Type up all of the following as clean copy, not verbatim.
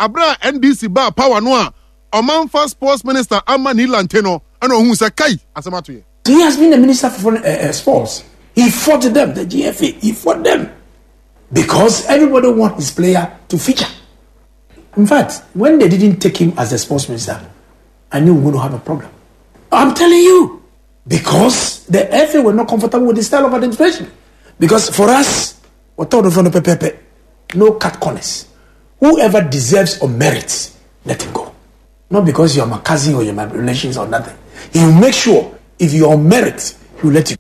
abere a NDC baa power no a ɔmanfa sports minister ama Nii Lante no ɛna ohun sɛ kai asɛm ato yɛ. He has been the minister for uh, uh, sports. He fought them, the GFA. He fought them because everybody wants his player to feature. In fact, when they didn't take him as the sports minister, I knew we were going to have a problem. I'm telling you, because the FA were not comfortable with the style of administration. Because for us, we're told no cut corners. Whoever deserves or merits, let him go. Not because you're my cousin or you're my relations or nothing. He will make sure if you're on merit, he will let you.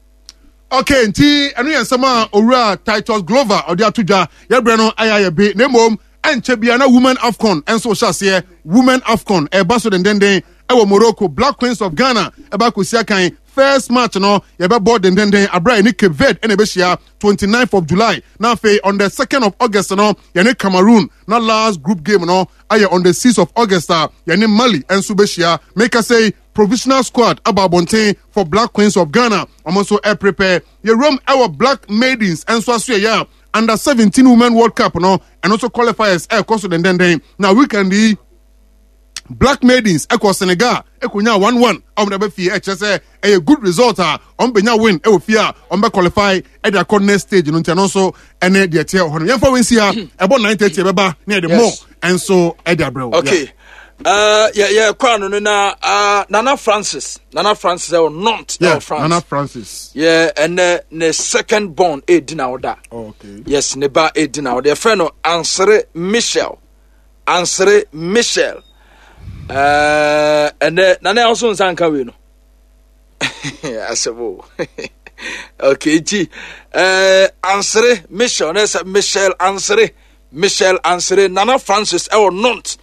Okay, nti ɛno yɛ nsɛm a owura Titus Glover ɔde ato dwa yɛbrɛ no ayɛ ayɛ be na mmom ɛnkyɛ bia na Women AFCON nso hyɛ aseɛ. Women AFCON ɛba so dendenden ɛwɔ Morocco. Black Queens of Ghana ɛba akɔsi akan. First match no yɛbɛbɔ dendenden abere a yɛne Cape Verde ɛna ɛbɛhyia 29th of July. Na afei on the 2nd of August no yɛne Cameroon na last group game no ayɛ on the 6th of August a yɛne Mali nso bɛhyia. Meka sɛ provisional squad aba abɔnten for Black Queens of Ghana. Wɔn nso ɛprepare. Yɛwuram ɛwɔ Black Maidens nso aso yɛyɛ a under 17 Women World Cup no ɛno nso qualifiers ɛrekɔ so dendenden. Na weekend yi Black Maidens ɛkɔ Senegal ɛkɔnya 1-1 a wɔn de aba fie ɛkyerɛ sɛ ɛyɛ good result a wɔn bɛnya win ɛwɔ fie a wɔn bɛ qualify ɛde akɔ next stage no nti ɛno nso ɛne deɛ ɛteɛ wɔ hɔ no yɛmfa wɔn nsi ha ɛbɔ 9:30 ɛbɛba ne yɛde more ɛnso ɛde abrɛ wo. Okay. Uh, yeah, yeah, kwano no na uh, Nana Francis, Nana Francis ɛwɔ Nantes, yeah, ɛwɔ France. Nana Francis. Yeah, and uh, ne second born edi na ɔda. Oh, okay. Yes, ne ba edi na ɔda. Yɛfrɛ no Ansere Michel. Ansere Michel. Uh, ɛnɛ Nana ɛwɔ nsa nka wei no. Asɛm o. Okay, nti uh, Ansere Michel, ne sɛ Michel Ansere. Michelle Ansere Nana Francis ɛwɔ Nantes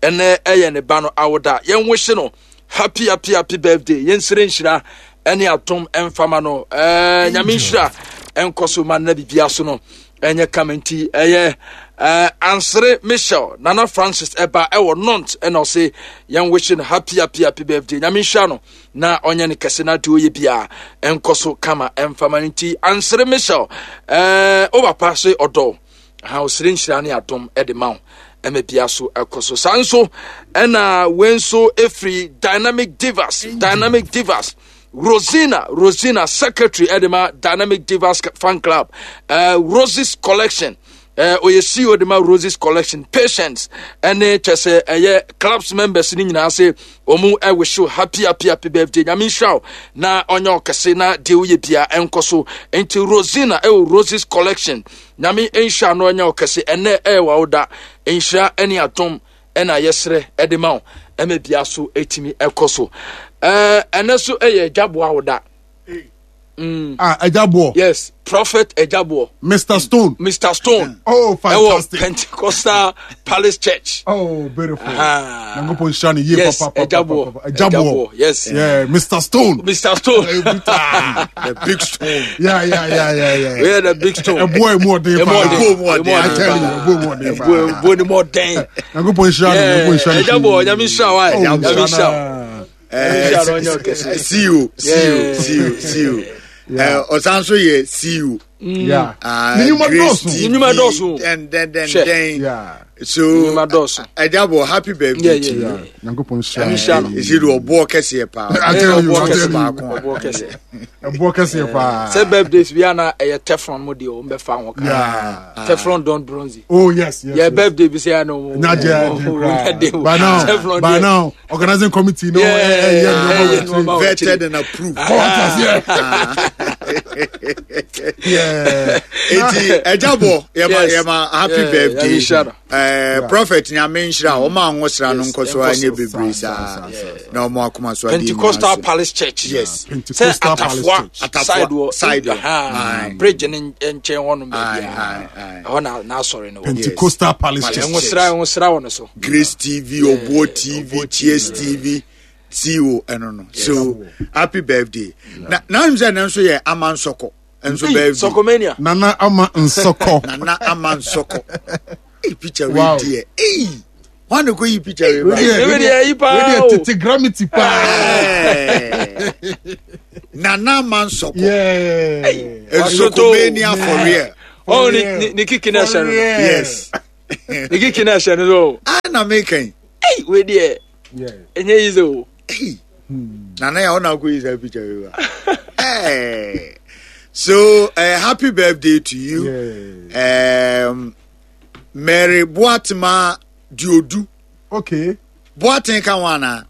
ɛnɛ ɛyɛ ne ba no awoda yɛn wihye no happy happy happy birthday yɛn sere nhyira ɛne atom ɛnfama no ɛɛ nyame nhyira ɛnkɔ so ma nna bibia so no ɛnyɛ kama nti ɛyɛ ɛɛ Ansere Michelle Nana Francis ɛba ɛwɔ Nantes ɛna ɔse yɛn wihye no happy happy happy birthday nyame nhyira no na ɔnyɛ no kɛse na deɛ ɔyɛ biara ɛnkɔ so kama ɛnfama no nti Ansere Michelle ɛɛ o papa se ɔdɔ ha ɔsrɛ nhyira ne adom de ma wo ɛma bia so ɛkɔ so saa nso ɛna wei nso ɛfiri dynamic divas dynamic divas rosina rosina secretary ɛde ma dynamic divas fan club uh, roses collection uh, ɔyɛ ceo de ma roses collection patients ɛne kyɛ sɛ ɛyɛ clubs members ne nyinaa se wɔn ɛwehyew happy happy happy birthday nyame nhyira wo na ɔnyɛ ɔkɛse na deɛ woyɛ bia ɛnkɔ so nti rosina ɛwɔ roses collection Nyame nhyira no ɛnyɛ wo kɛse ɛnɛ ɛyɛ w'awoda nhyira ɛne adom ɛna yɛsrɛ ɛde ma wo ɛma bia so ɛtumi ɛkɔ so ɛɛ ɛnɛ so ɛyɛ agyaboɔ awoda. Mm. Ah, Ajabuo. Yes, Prophet Ajabuo. Mr. Stone. Mr. Stone. Oh, fantastic. Ɛwɔ Pentecostal Palace Church. Oh, beautiful. Ah. Nyankopɔn nhyira ne yie yes, papa. Ajabuo. Ajabuo. Yes. Yeah, Mr. Stone. Mr. Stone. the big stone. Yeah, yeah, yeah, yeah, yeah. Yeah, the big stone. Ɛboɔ emu ɔden paa. Ɛboɔ emu ɔden. I tell you, ɛboɔ emu ɔden paa. Ɛboɔ emu ɔden. Nyankopɔn nhyira no. Nyankopɔn nhyira no. Ajabuo, nyame nhyira wa. Nyame nhyira wa. See you, see you, see you, see you. Ɔsan so yɛ see you. Yeah. Ne nnwuma dɔɔso. Ne nnwuma dɔɔso. Dɛn dɛn dɛn dɛn. Yeah. So nnwuma dɔɔso. Ɛdabɔ happy birthday to you. Nyankopɔn nhyira no. Esi de ɔboɔ kɛseɛ paa. I tell you, I tell you. Ɔboɔ kɛseɛ. Ɛboɔ kɛseɛ paa. Sɛ birthdays bi ana ɛyɛ teflon mo deɛ wɔn bɛ fa ho kan. Yeah. Teflon don bronze. Oh yes, yes. Yɛ birthday bi sɛ ɛna wɔn. Nyagye ɛdi kura. By now, by now, organizing committee no. Yeah, yeah, yeah. Vetted and approved. Yeah. Eti ɛjabɔ yɛma yɛma happy birthday. Uh, prophet nyame nhyira wɔn a wɔn no nkɔ so anyɛ bebree saa na wɔn akoma so adeɛ Pentecostal Palace Church. Yes. Pentecostal Palace Church. Atafoa side wɔ bridge ne nkyɛn hɔ nom baabi a ɛhɔ na n'asɔre no wɔ. Pentecostal Palace Church. Nwosra nwosra wɔ no so. Grace TV, Obuo TV, Cheers TV, CO ɛno no. So happy birthday. Na na n sɛ ne nso yɛ ama nsɔkɔ. Nso birthday. Sɔkɔmania. Nana ama nsɔkɔ. Nana ama nsɔkɔ. Hey, picture wow. wei deɛ. Hey. Wọn kò yi picture wei ba. Wei deɛ yi paa o. Wei deɛ tete gramity paa. Nana ama nsɔkɔ. Yeah. Nsɔkɔmania for real. Oh, ni ni kiki na ɛhyɛ no. Yes. Ne kiki na ɛhyɛ no so. Ah na meka yi. Ei wei deɛ ɛnyɛ yi sɛ o. Nana yɛ ɔna akɔ yi saa picture yi wa. Hey. So happy birthday to you. Yeah. Mary Boatema Diodu. Okay. Boaten ka ho ana?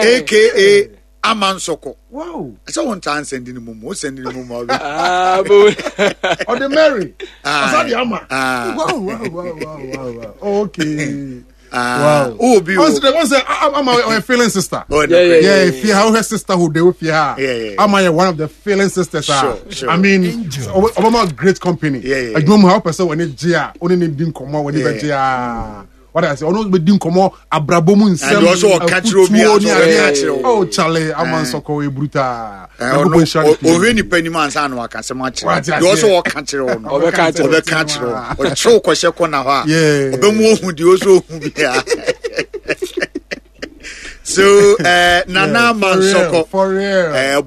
AKA Amansoko. Wow. Sɛ wɔn ntaa nsɛndi ne mu mu, nsɛndi ne mu mu ɔbɛ. Ah, bo. Ɔde Mary. Ɔsa de ama. Wow, wow, wow, wow, wow. Okay. Wow. Oh, be Once the once I'm a feeling sister. Oh, yeah, yeah, yeah. If you have her sisterhood, they will feel her. Yeah, yeah. I'm one of the feeling sisters. Sure, sure. I mean, Obama great company. Yeah, yeah. I don't know how person when it jia, only need din komo when it jia. What I say, ono be din komo abrabɔ mu nsɛm. And also ɔka kyerɛ obi a ɔka kyerɛ o. Oh, Charlie, Amansoko e brutal. Ɔhwɛ nipa nim ansa na waka asɛm akyerɛ deɛ ɔsɛ ɔka kyerɛ wo no ɔbɛka kyerɛ wo ɔkyerɛ wo kɔhyɛ kɔna hɔ a ɔbɛmu ohu deɛ ɔsɛ ohu bia so nana mansɔkɔ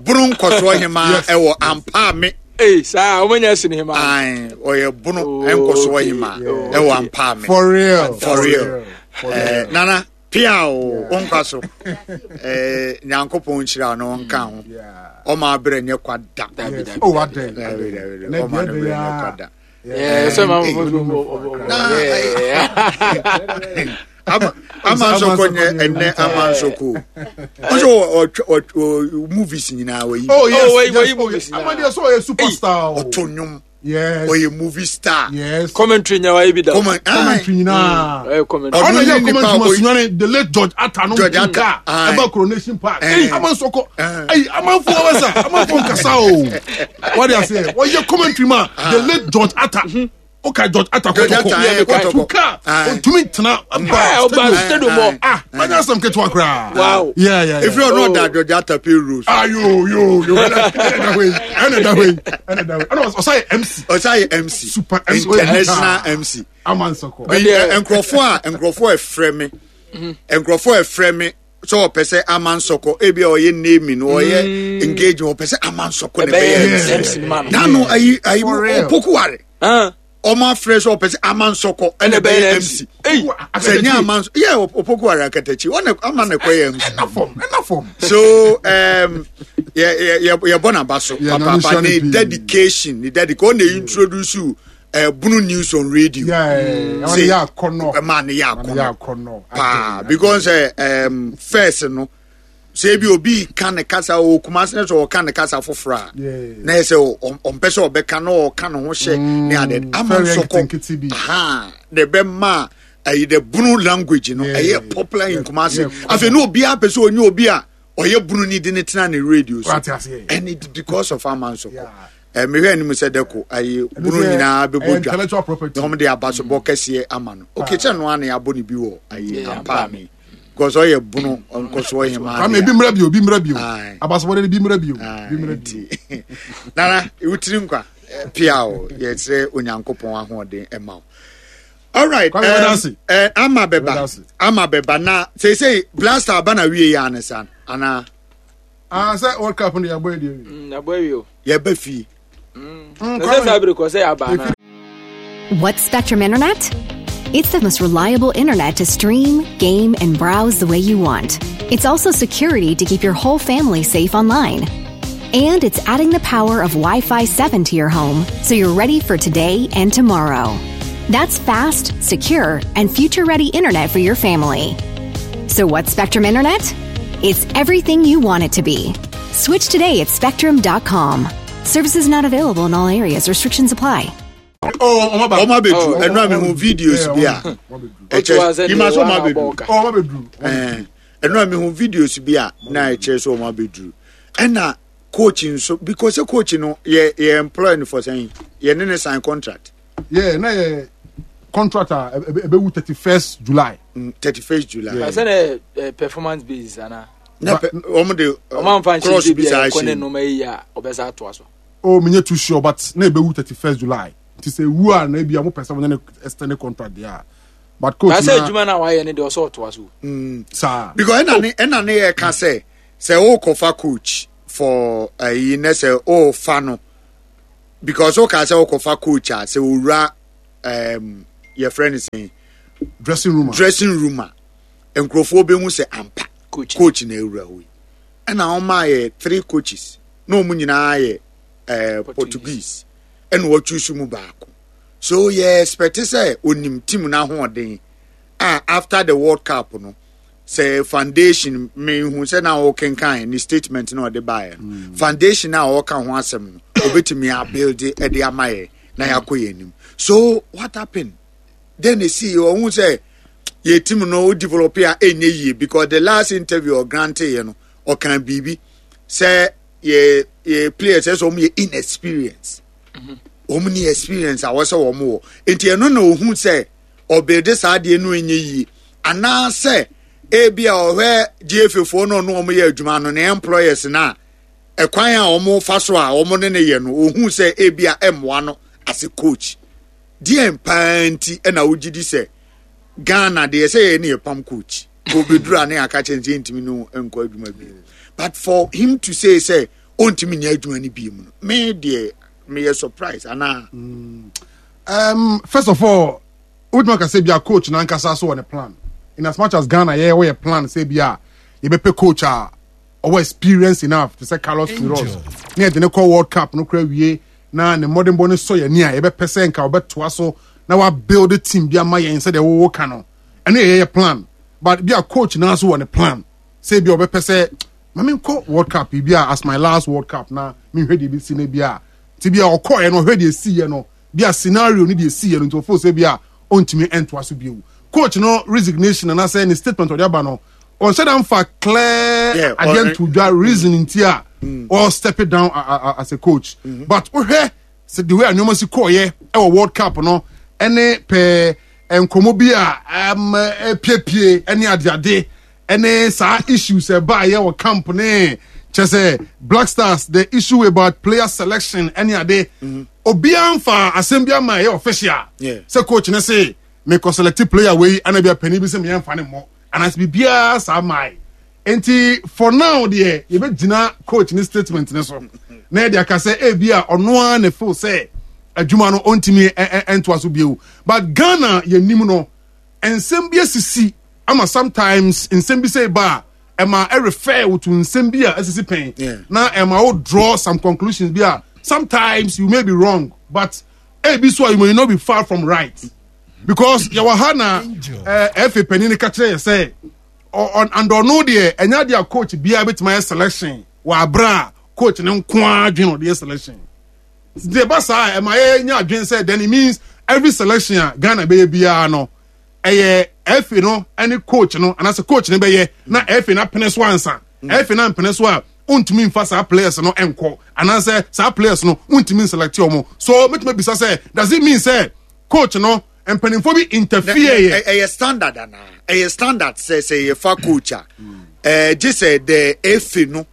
bono nkɔsoɔ hema ɛwɔ ampaame Hey, saa wɔn nyɛ sini hema. Ɔyɛ bono nkɔsoɔ hema ɛwɔ ampaame. For real. For real. Nana pia o wo nkwa so eh, nyankopɔn nhyira no ɔnka ho ɔma abrɛ nyɛ kwa da ɔma no brɛ nyɛ kwa da ama nsɔkɔ nyɛ ɛnɛ ama nsɔkɔ ɔsɛ ɔ movies nyinaa wɔyi oh yes yes movies ama deɛ sɛ ɔyɛ superstar ɔto nnwom Yes. Ɔyɛ movie star. Yes. Commentary nya wa ebi da. Commentary nyinaa. Ɔyɛ commentary. Ɔno yɛ commentary ma sunyane the late George Atta no George Atta. Ɛba coronation park. Ɛyi amansɔkɔ. Ɛyi amanfo wɔbɛsa amanfo nkasa o. Wɔde aseɛ wɔyɛ commentary ma the late George Atta. Oka George Atta kɔtɔkɔ. Tuka otumi ntena ba stadium hɔ. Ah, manya asɛm ketewa koraa. Wow. Yeah, yeah, yeah. Efiri ɔno ɔda George Atta pay rose. Ah, yo, yo, yo. Ɛna ɛda hɔ yi. Ɛna ɛda hɔ yi. Ɛna ɛda hɔ yi. Ɛna ɔsa yɛ MC. Ɔsa yɛ MC. Super MC. International MC. Amansɔkɔ. Nkurɔfoɔ a nkurɔfoɔ ɛfrɛ me. Nkurɔfoɔ ɛfrɛ me sɛ ɔpɛ sɛ amansɔkɔ ebi a ɔyɛ naming ɔyɛ engagement ɔpɛ sɛ amansɔkɔ na ɛbɛyɛ MC. Nanu ayi ayi opokuware. Ɔmo afrɛ sɛ ɔpɛ sɛ amansɔkɔ ɛna ɛbɛyɛ MC. Sɛ nye amansɔ yɛ opokuware akatakyi ɔna ama na ɛkɔyɛ MC. Ɛna fam ɛna fam. So yɛ yɛ yɛ bɔ n'aba so papaapa ne dedication ne dedication ɔna introduce bunu news on radio. Sɛ yɛ akɔnɔ. Ɛma ne yɛ akɔnɔ paa because first no. Sɛ ebi obi ka ne kasa o Kumasi ne sɛ ɔka ne kasa foforɔ a na yɛ sɛ ɔmpɛ sɛ ɔbɛka na ɔka ne ho hyɛ ne ade ama nsɔkɔ aha na ɛbɛma ɛyi the bunu language no ɛyɛ popular in Kumasi afei ne obiara pɛ sɛ onye obi a ɔyɛ bunu ni de ne tena ne radio so and it because of ama nsɔkɔ mehwɛ anim sɛ dɛko ayi bunu nyinaa bɛbɔ dwa na wɔn de abasobɔ kɛseɛ ama no okay kyɛ no ano yɛabɔ ne bi wɔ ayi ampaame. Because ɔyɛ bono nkɔsoɔ hema. Kwame ebi mmerɛ bio ebi mmerɛ bio abasobɔde ebi mmerɛ bio ebi mmerɛ bio. Nana wotiri nkwa pia o yɛsrɛ Onyankopɔn ahoɔden ɛma o. Alright ama bɛba ama bɛba na seesei blaster aba na wie yɛ anesa anaa. Ah sɛ World Cup no yɛabɔ awie. Yɛabɔ awie o. Yɛba fie. Sɛ saa bere kɔ sɛ yɛaba anaa. What's Spectrum Internet? It's the most reliable internet to stream, game, and browse the way you want. It's also security to keep your whole family safe online. And it's adding the power of Wi-Fi 7 to your home so you're ready for today and tomorrow. That's fast, secure, and future-ready internet for your family. So what's Spectrum Internet? It's everything you want it to be. Switch today at spectrum.com. Services not available in all areas. Restrictions apply. Oh, ọmọ abeduru ẹnu àmì hu videos bi a ẹkyẹ yìí sọ ọmọ abeduru ọmọ abeduru ẹnu àmì hu videos bi a na ẹkyẹ sọ ọmọ abeduru ẹna coach nso because coach no yẹ yẹ employ no for sẹyìn yẹ ne ne sign contract. Yeah, na yẹ contract a ebewu 31st July. 31st July. Yeah. Sɛ na performance basis ana. Na wɔn de wɔn anfa cross nhyɛ bi bi saa a ɛkɔ ne hyɛ mu. nneɛma yi a ɔbɛsa atoa so. Oh, me too sure, but na ebewu 31st July. Nti sɛ ewu a na ebi a mo pɛ sɛ mo ne no extend contract deɛ a. But coach na sɛ na adwuma no a wayɛ no deɛ ɔsɛ ɔtoa so. saa. Because ɛna ne ɛna ne yɛ ka sɛ sɛ ɔrekɔfa coach for ɛyi ne sɛ ɔrefa no because ɔka sɛ ɔrekɔfa coach a sɛ owura. um, yɛfrɛ no sɛn dressing room dressing room a nkurɔfoɔ bɛhu sɛ ampa coach, coach na awura hɔ yi ɛna wɔn ayɛ three coaches na wɔn nyinaa yɛ eh, Portuguese ɛna wɔtwi so mu baako so yɛ expect sɛ onim team n'ahoɔden a after the World Cup no sɛ foundation mehu sɛ na ɔkenkan ne statement na ɔde baeɛ no mm. foundation a ɔka ho asɛm no obetumi abuild ɛde ama yɛ na yɛakɔ yɛn anim so what happened then esi ɔhu sɛ yɛ team no o develop a ɛnyɛ yie because the last interview ɔgrante yɛ no ɔkan biribi sɛ yɛ yɛ players ɛsɛ wɔn yɛ inexperience wɔn ni experience a wɔsɛ wɔn wɔ nti ɛno na ohun sɛ ɔbɛde saa adeɛ no nyɛ yie anaasɛ ebi a ɔhwɛ gfa foɔ no ɔno wɔn yɛ adwuma no ne employers na ɛkwan a wɔn fa so a wɔn ne ne yɛ no ohun sɛ ebi a ɛmmoa no as a coach deɛ paa nti ɛna wogye di sɛ ghana deɛ sɛ yɛ ne yɛ pam coach obeduru a ne aka kyɛn sɛ ntumi no nkɔ adwuma bi but for him to say sɛ ɔntumi nyɛ adwuma no bi mu no me deɛ meyɛ surprise anaa. Mm. Um, first of all wotumi aka sɛ bia coach nankasa so wɔ ne plan in as much as ghana yɛ wɔyɛ plan sɛ bia yɛbɛpɛ coach a ɔwɔ experience enough te sɛ carlos queiroz ne yɛde ne kɔ world cup no kora wie na ne mmɔdenbɔ no sɔ yɛn ani a yɛbɛpɛ sɛ nka ɔbɛtoa so na wa build team bi ama yɛn sɛdeɛ wɔwɔ ka no ɛno yɛ yɛyɛ plan but bi a coach naa so wɔ ne plan sɛ bi a ɔbɛpɛ sɛ ma menkɔ world cup bi a as my last world cup na menhwɛ deɛ ɛbɛsi no bi a nti bi a ɔkɔɛ no ɔhwɛ deɛ ɛsiiɛ no bi a scenario ne deɛ ɛsiiɛ no nti ɔfo sɛ bi a ɔntumi ɛntoa so bio coach no resignation anaasɛ ne statement ɔde aba no ɔnhyɛ da nfa clear adeɛ nto dwa reason nti a ɔ step it down as a coach mm-hmm. but wohwɛ sɛ the way a nneɛma si kɔɔyɛ ɛwɔ world cup no ɛne pɛɛ nkɔmɔ bi a ɛpiepie ɛne adeade ɛne saa issues ɛbaayɛ wɔ camp ne kyɛ sɛ black stars the issue about player selection ɛne ade mm-hmm. obiara nfa asɛm bi ama ɛyɛ official sɛ coach ne se mekɔ select player wei ɛna bi a panin bi sɛ meyɛ nfa ne mmɔ anaasɛ biribiara saa mae nti for now deɛ yɛbɛgyina coach ne statement ne so na yɛde aka sɛ ebi a ɔno ara ne feel sɛ adwuma no ɔntumi ntoa so bio but Ghana yɛnim no nsɛm bi asisi ama sometimes nsɛm bi sɛ ba a ɛma ɛrefer wo to nsɛm bi a asisi pɛn na ɛma wo draw some conclusions bi a sometimes you may be wrong but ebi so a you may not be far from right because yɛwɔ ha na ɛfɛ panyin no ka kyerɛ yɛ sɛ and ɔno deɛ ɛnyɛ adeɛ a coach biara bɛtumi ayɛ selection wɔ abere a coach ne nko ara adwene ɔde yɛ selection deɛ ɛba saa ɛma yɛnya adwene sɛ then it means every selection a Ghana bɛyɛ biara no ɛyɛ ɛfɛ no ɛne coach no anaasɛ coach no bɛyɛ na ɛfɛ no apene so ansa ɛfɛ no ampene so a wontumi nfa saa players no nkɔ anaasɛ saa players no wontumi nselect wɔn so mɛtumi bisa sɛ does it mean sɛ coach no mpanimfoɔ bi interfere yɛ. ɛyɛ standard anaa ɛyɛ standard sɛ sɛ yɛfa coach a ɛɛ gye sɛ the efe no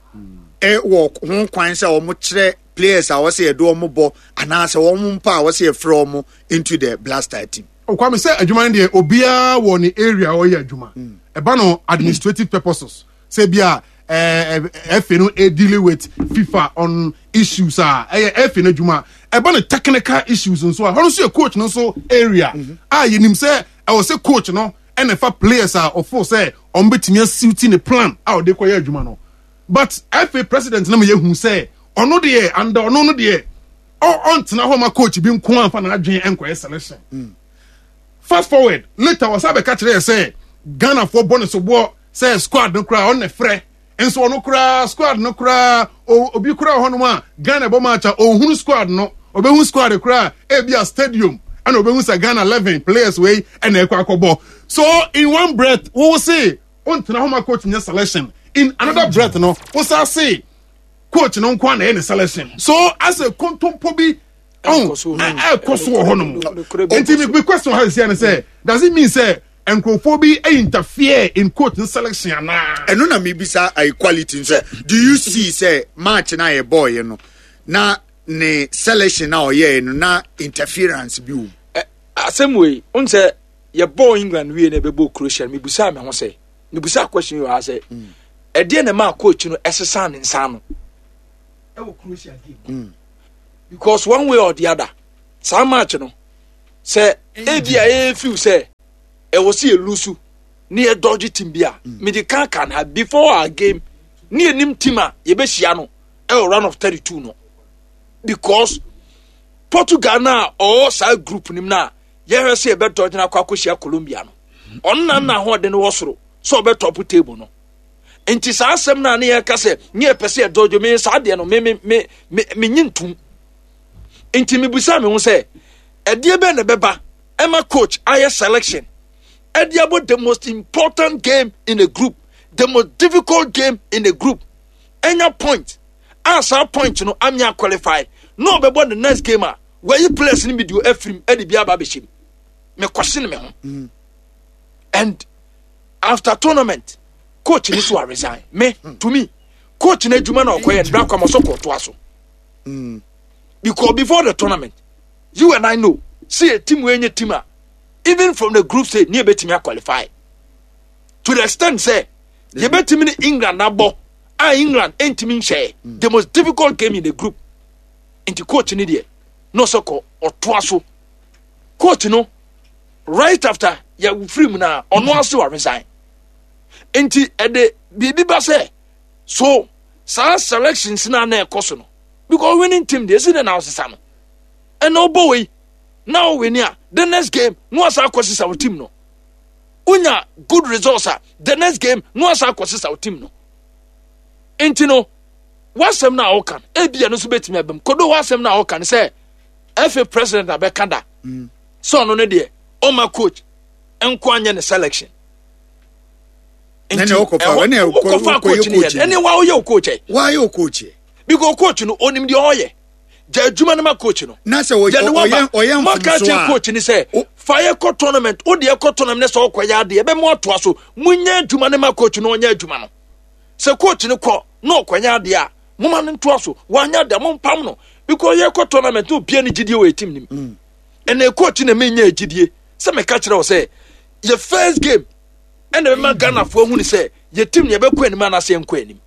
ɛwɔ ho kwan sɛ wɔn kyerɛ players a wɔsɛ yɛde wɔn bɔ anaasɛ wɔn mpa a wɔsɛ yɛfrɛ wɔn into the blaster team. Kwame sɛ adwuma no deɛ obiara wɔ ne area a ɔyɛ adwuma ɛba no administrative purposes sɛ bi a ɛfɛ no dealing with FIFA on issues a ɛyɛ ɛfɛ no adwuma ɛba no technical issues nso a hɔ nso yɛ coach no nso area a yɛnim sɛ ɛwɔ sɛ coach no ɛna ɛfa players a ɔfo sɛ wɔn bɛtumi asiwti ne plan a ɔde kɔyɛ adwuma no but ɛfɛ president no ma yɛhu sɛ ɔno deɛ anda ɔno no deɛ ɔntena hɔ ma coach bi nko anfa n'adwene nkɔyɛ selection mm. fast forward later wɔsan bɛka kyerɛ yɛ sɛ ghanafoɔ bɔ ne soboɔ sɛ squad no koraa ɔno na frɛ nso ɔno koraa squad no koraa obi koraa wɔ hɔnom a ghana bɔ match a ɔnhunu squad no ɔbɛhu squad koraa ebi a stadium ɛna ɔbɛhu sɛ ghana 11 players wei ɛna ɛkɔ akɔbɔ so in one breath wo se ɔntena hɔ ma coach nyɛ selection in another breath no wo sa se coach no nko na ɛyɛ ne selection so asɛ kontompo bi ɛkɔ so wɔ hɔnom nti mi question ha sisi ɛne sɛ does it mean sɛ nkurɔfoɔ bi interfere in coach no selection anaa. ɛno na mebisa equality nso do you see sɛ match na yɛ bɔɔyɛ no na ne selection na ɔyɛɛ no na interference bi wɔ mu. asɛm wei n sɛ yɛbɔɔ england wie na ɛbɛbɔ croatia no mebusaa me ho sɛ mebusaa question yi wɔ ha sɛ ɛdeɛ na ɛmaa coach no ɛsesaa ne nsa ano ɛwɔ croatia game mm. because one way or the other saa match no. Sɛ ebi a yɛ feel sɛ ɛwɔ sɛ yɛ lose ne yɛ dodge team bi a, mm. mede kan kan ha before our game ne yɛnim team a yɛbɛhyia no ɛwɔ round of 32 no because Portugal no a ɔwɔ saa group nim no a yɛhwɛ sɛ yɛbɛdɔgye no akɔ akɔhyia Colombia no ɔno na na ahoɔden wɔ soro sɛ ɔbɛtɔpo table no nti saa asɛm no a ne yɛka sɛ ne yɛpɛ sɛ yɛdɔgye me saa deɛ no me me me me menye ntom nti mebusa me ho sɛ ɛdeɛ bɛn na ɛbɛba ɛma coach ayɛ selection ɛde abɔ the most important game in a group the most difficult game in a group ɛnya point a saa point no amia qualify na ɔbɛbɔ the next game a wɔayi players no bi de afirim ɛde bi aba abɛhyɛ mu mekɔse me ho mm. and after tournament coach ni so a resign me to me coach no adwuma na ɔkɔyɛ no bra kwama so kɔtoa so mm. because before the tournament you and I know see a team wei nye team a even from the group stage ne yɛbɛtumi aqualify to the extent sɛ yɛbɛtumi ne England abɔ a England ntumi nhyɛ mm. the most difficult game in the group nti coach ne deɛ na ɔsɛ kɔ ɔtoa so coach no right after yɛ firi mu na ɔno ase wa resign nti ɛde biribi ba sɛ so saa selections na na ɛkɔ so no because winning team deɛ esi de na ɔsesa no ɛna ɔbɔ wei na ɔwini a the next game na wasa akɔ sesa wo team no wonya good results a the next game na wasa akɔ sesa wo team no nti no wasɛm no a ɔka no ebi ɛno nso betumi abam kodo wasɛm no a ɔka no sɛ ɛfɛ president abɛka da mm. sɛ ɔno no deɛ ɔma coach nko anyɛ ne selection nti wokɔfa coach no yɛ ɛne wa woyɛ wo coach ɛ wayɛ wo coach ɛ because coach no onim deɛ ɔyɛ gya adwuma no ma coach no na sɛ ɔyɛ ɔyɛ maka kyerɛ coach no sɛ fa yɛ kɔ tournament wo deɛ kɔ tournament ne sɛ ɔkɔyɛ adeɛ ɛbɛmo atoa so monyɛ adwuma no ma coach no ɔnyɛ adwuma no sɛ coach no kɔ na ɔkɔnyɛ adeɛ a moma no ntoa so wanyɛ adeɛ mompam no because yɛkɔ tournament na obia ne gyidie wɔ yɛ team nim mm. ɛnna coach na menya gyidie sɛ meka kyerɛ wo sɛ yɛ first game ɛna bɛma ghanafoɔ ahunu sɛ yɛ team no yɛbɛkɔ anim anaasɛ yɛnkɔ anim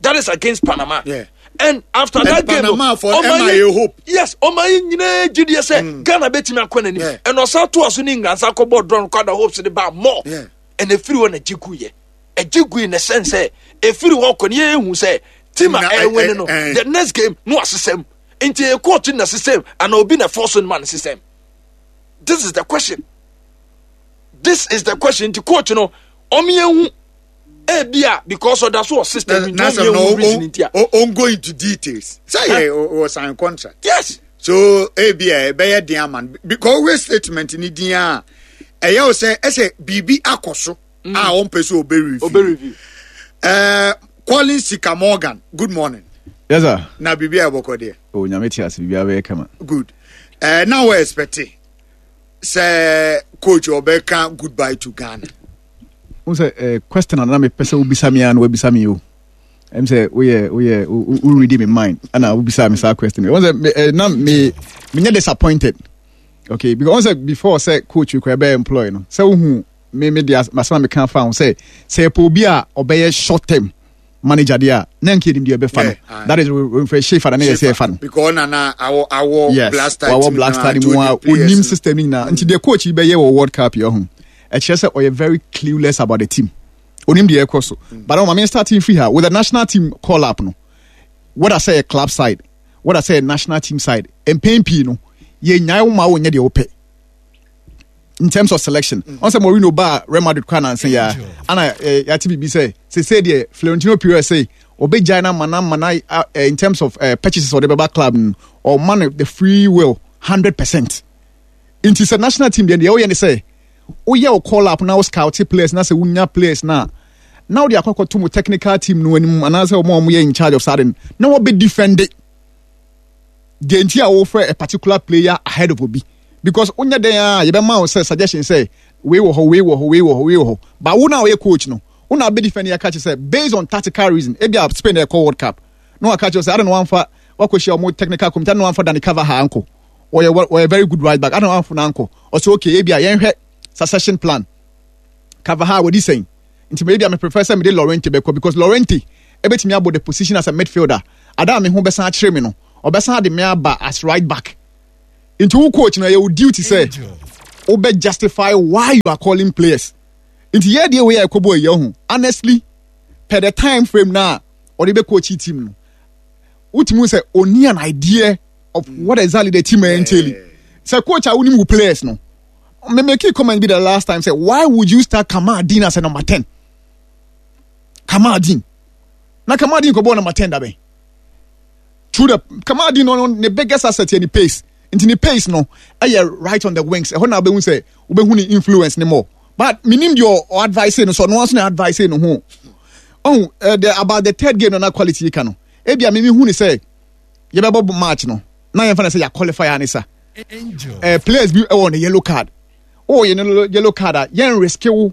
that is against panama yeah. and after and that game Panama for ɔma yɛ hope yes ɔma yɛ nyinaa gyidie sɛ mm. ghana bɛtumi akɔ n'anim ɛna ɔsan to aso ne england san kɔ bɔ draw kɔ ada hopes de ba more ɛna efiri hɔ na gye gu yɛ ɛgye gu yi na sɛn sɛ efiri hɔ kɔ ne yɛ ehu sɛ team a ɛwɛ no the next game no asesɛm nti yɛ coach na system ana obi na force no ma no system this is the question this is the question nti coach no ɔmo yɛn hu ebi a because ɔda so wɔ system nti ɔmo yɛn hu reason nti a. o go into details sɛ yɛ o sign contract. yes. So ebi a ɛbɛyɛ den ama no because ɔwɛ statement ni din a ɛyɛ o sɛ ɛsɛ biribi akɔ so a ɔmpɛ sɛ ɔbɛ review. Ɛɛ Collins Sika Morgan good morning. Yes sir. Na biribi a ɛbɔkɔ deɛ. O nyame te ase biribi abɛyɛ kama. Good. Ɛɛ na wɔ expect sɛ coach ɔbɛka goodbye to Ghana. N sɛ eh, question a na mepɛ sɛ wobisa me a na wabisa me o. Ɛm sɛ woyɛ woyɛ wo read me mind ɛna wobisa me saa question. Wɔn sɛ eh, na me menyɛ disappointed. Okay, because wɔn sɛ before sɛ coach kura ɛbɛyɛ employ no sɛ wohu me me de asɛm a meka fa ho sɛ sɛ yɛpɛ obi a ɔbɛyɛ short term manager deɛ a na nka yɛnim deɛ ɛbɛfa no that is mfɛ shefa na ne yɛ sɛ ɛfa no because na awɔ awɔ yes blaster wawɔ black star no mu a onim system no nyinaa nti deɛ coach yi bɛyɛ wɔ world cup yɛ ho ɛkyerɛ sɛ ɔyɛ very clueless about the team onim deɛ ɛkɔ so mm. but ɔma me starting free ha with the national team call up no whether sɛ yɛ club side whether sɛ yɛ national team side mpɛn pii no yɛnyae wo ma wonyɛ deɛ wopɛ in terms of selection ɔn mm. sɛ Mourinho ba Real Madrid kora nansa ya ana eh, yɛate biribi sɛ sese deɛ Florentino Perez sɛ ɔbɛgyae no ama no ama no eh, in terms of uh, purchases ɔde bɛba club no ɔma no the free will 100% nti sɛ national team deɛ deɛ woyɛ ne sɛ woyɛ wo call up na wo scout players na sɛ wonya players na na wode akɔkɔto mu technical team no anim anaasɛ wɔn a wɔyɛ in charge of saa de no na wɔbɛ defend it deɛ nti a wofrɛ a particular player ahead of obi because wonyɛ dɛn a yɛbɛma wo sɛ suggestion sɛ wei wɔ hɔ wei wɔ hɔ wei wɔ hɔ wei wɔ hɔ but wo na ɔyɛ coach no wo na abɛdi fɛn yɛka kyerɛ sɛ based on tactical reason ebi a Spain ɛkɔ World Cup na waka kyerɛ sɛ adɛn na wamfa wakɔhyia wɔn technical committee adɛn na wamfa Dani Carvajal ankɔ ɔyɛ ɔyɛ very good right back adɛn na wamfa no ankɔ ɔsɛ okay ebi a yɛnhwɛ succession plan Carvajal wɔdi sɛn nti me ebia me prefer sɛ mede Llorente bɛkɔ because Llorente ebetumi abɔ the position as a midfielder ada a me ho bɛsan akyerɛ me no ɔbɛsan de me aba as right back. Nti wo coach no ɛyɛ wo duty sɛ wobɛ justify why you are calling players. Nti yɛ deɛ wei a ɛkɔbɔ ɛyɛ ho honestly per the time frame na ɔde bɛ coach team no wotumi sɛ ɔni an idea of what exactly the team entail. Sɛ coach a wonim wo players no me make a comment be the last time say why would you start Kamaldeen as a number 10? Kamaldeen. Na Kamaldeen kɔbɔ number 10 dabɛn. Through the Kamaldeen no ne biggest asset yɛ ne pace. Nti ne pace no ɛyɛ right on the wings. Ɛhɔ na wobɛhu sɛ wobɛhu ne influence ne more. But menim deɛ ɔ advice no so ɔno nso na advice no ho. Oh, the, about the third game no na quality yi ka no. Ebia me mehu ne sɛ yɛbɛbɔ match no na yɛmfa no sɛ yɛ qualify a ne sa. Players bi ɛwɔ ne yellow card. Oh, yɛ no yellow card a yɛn risk wo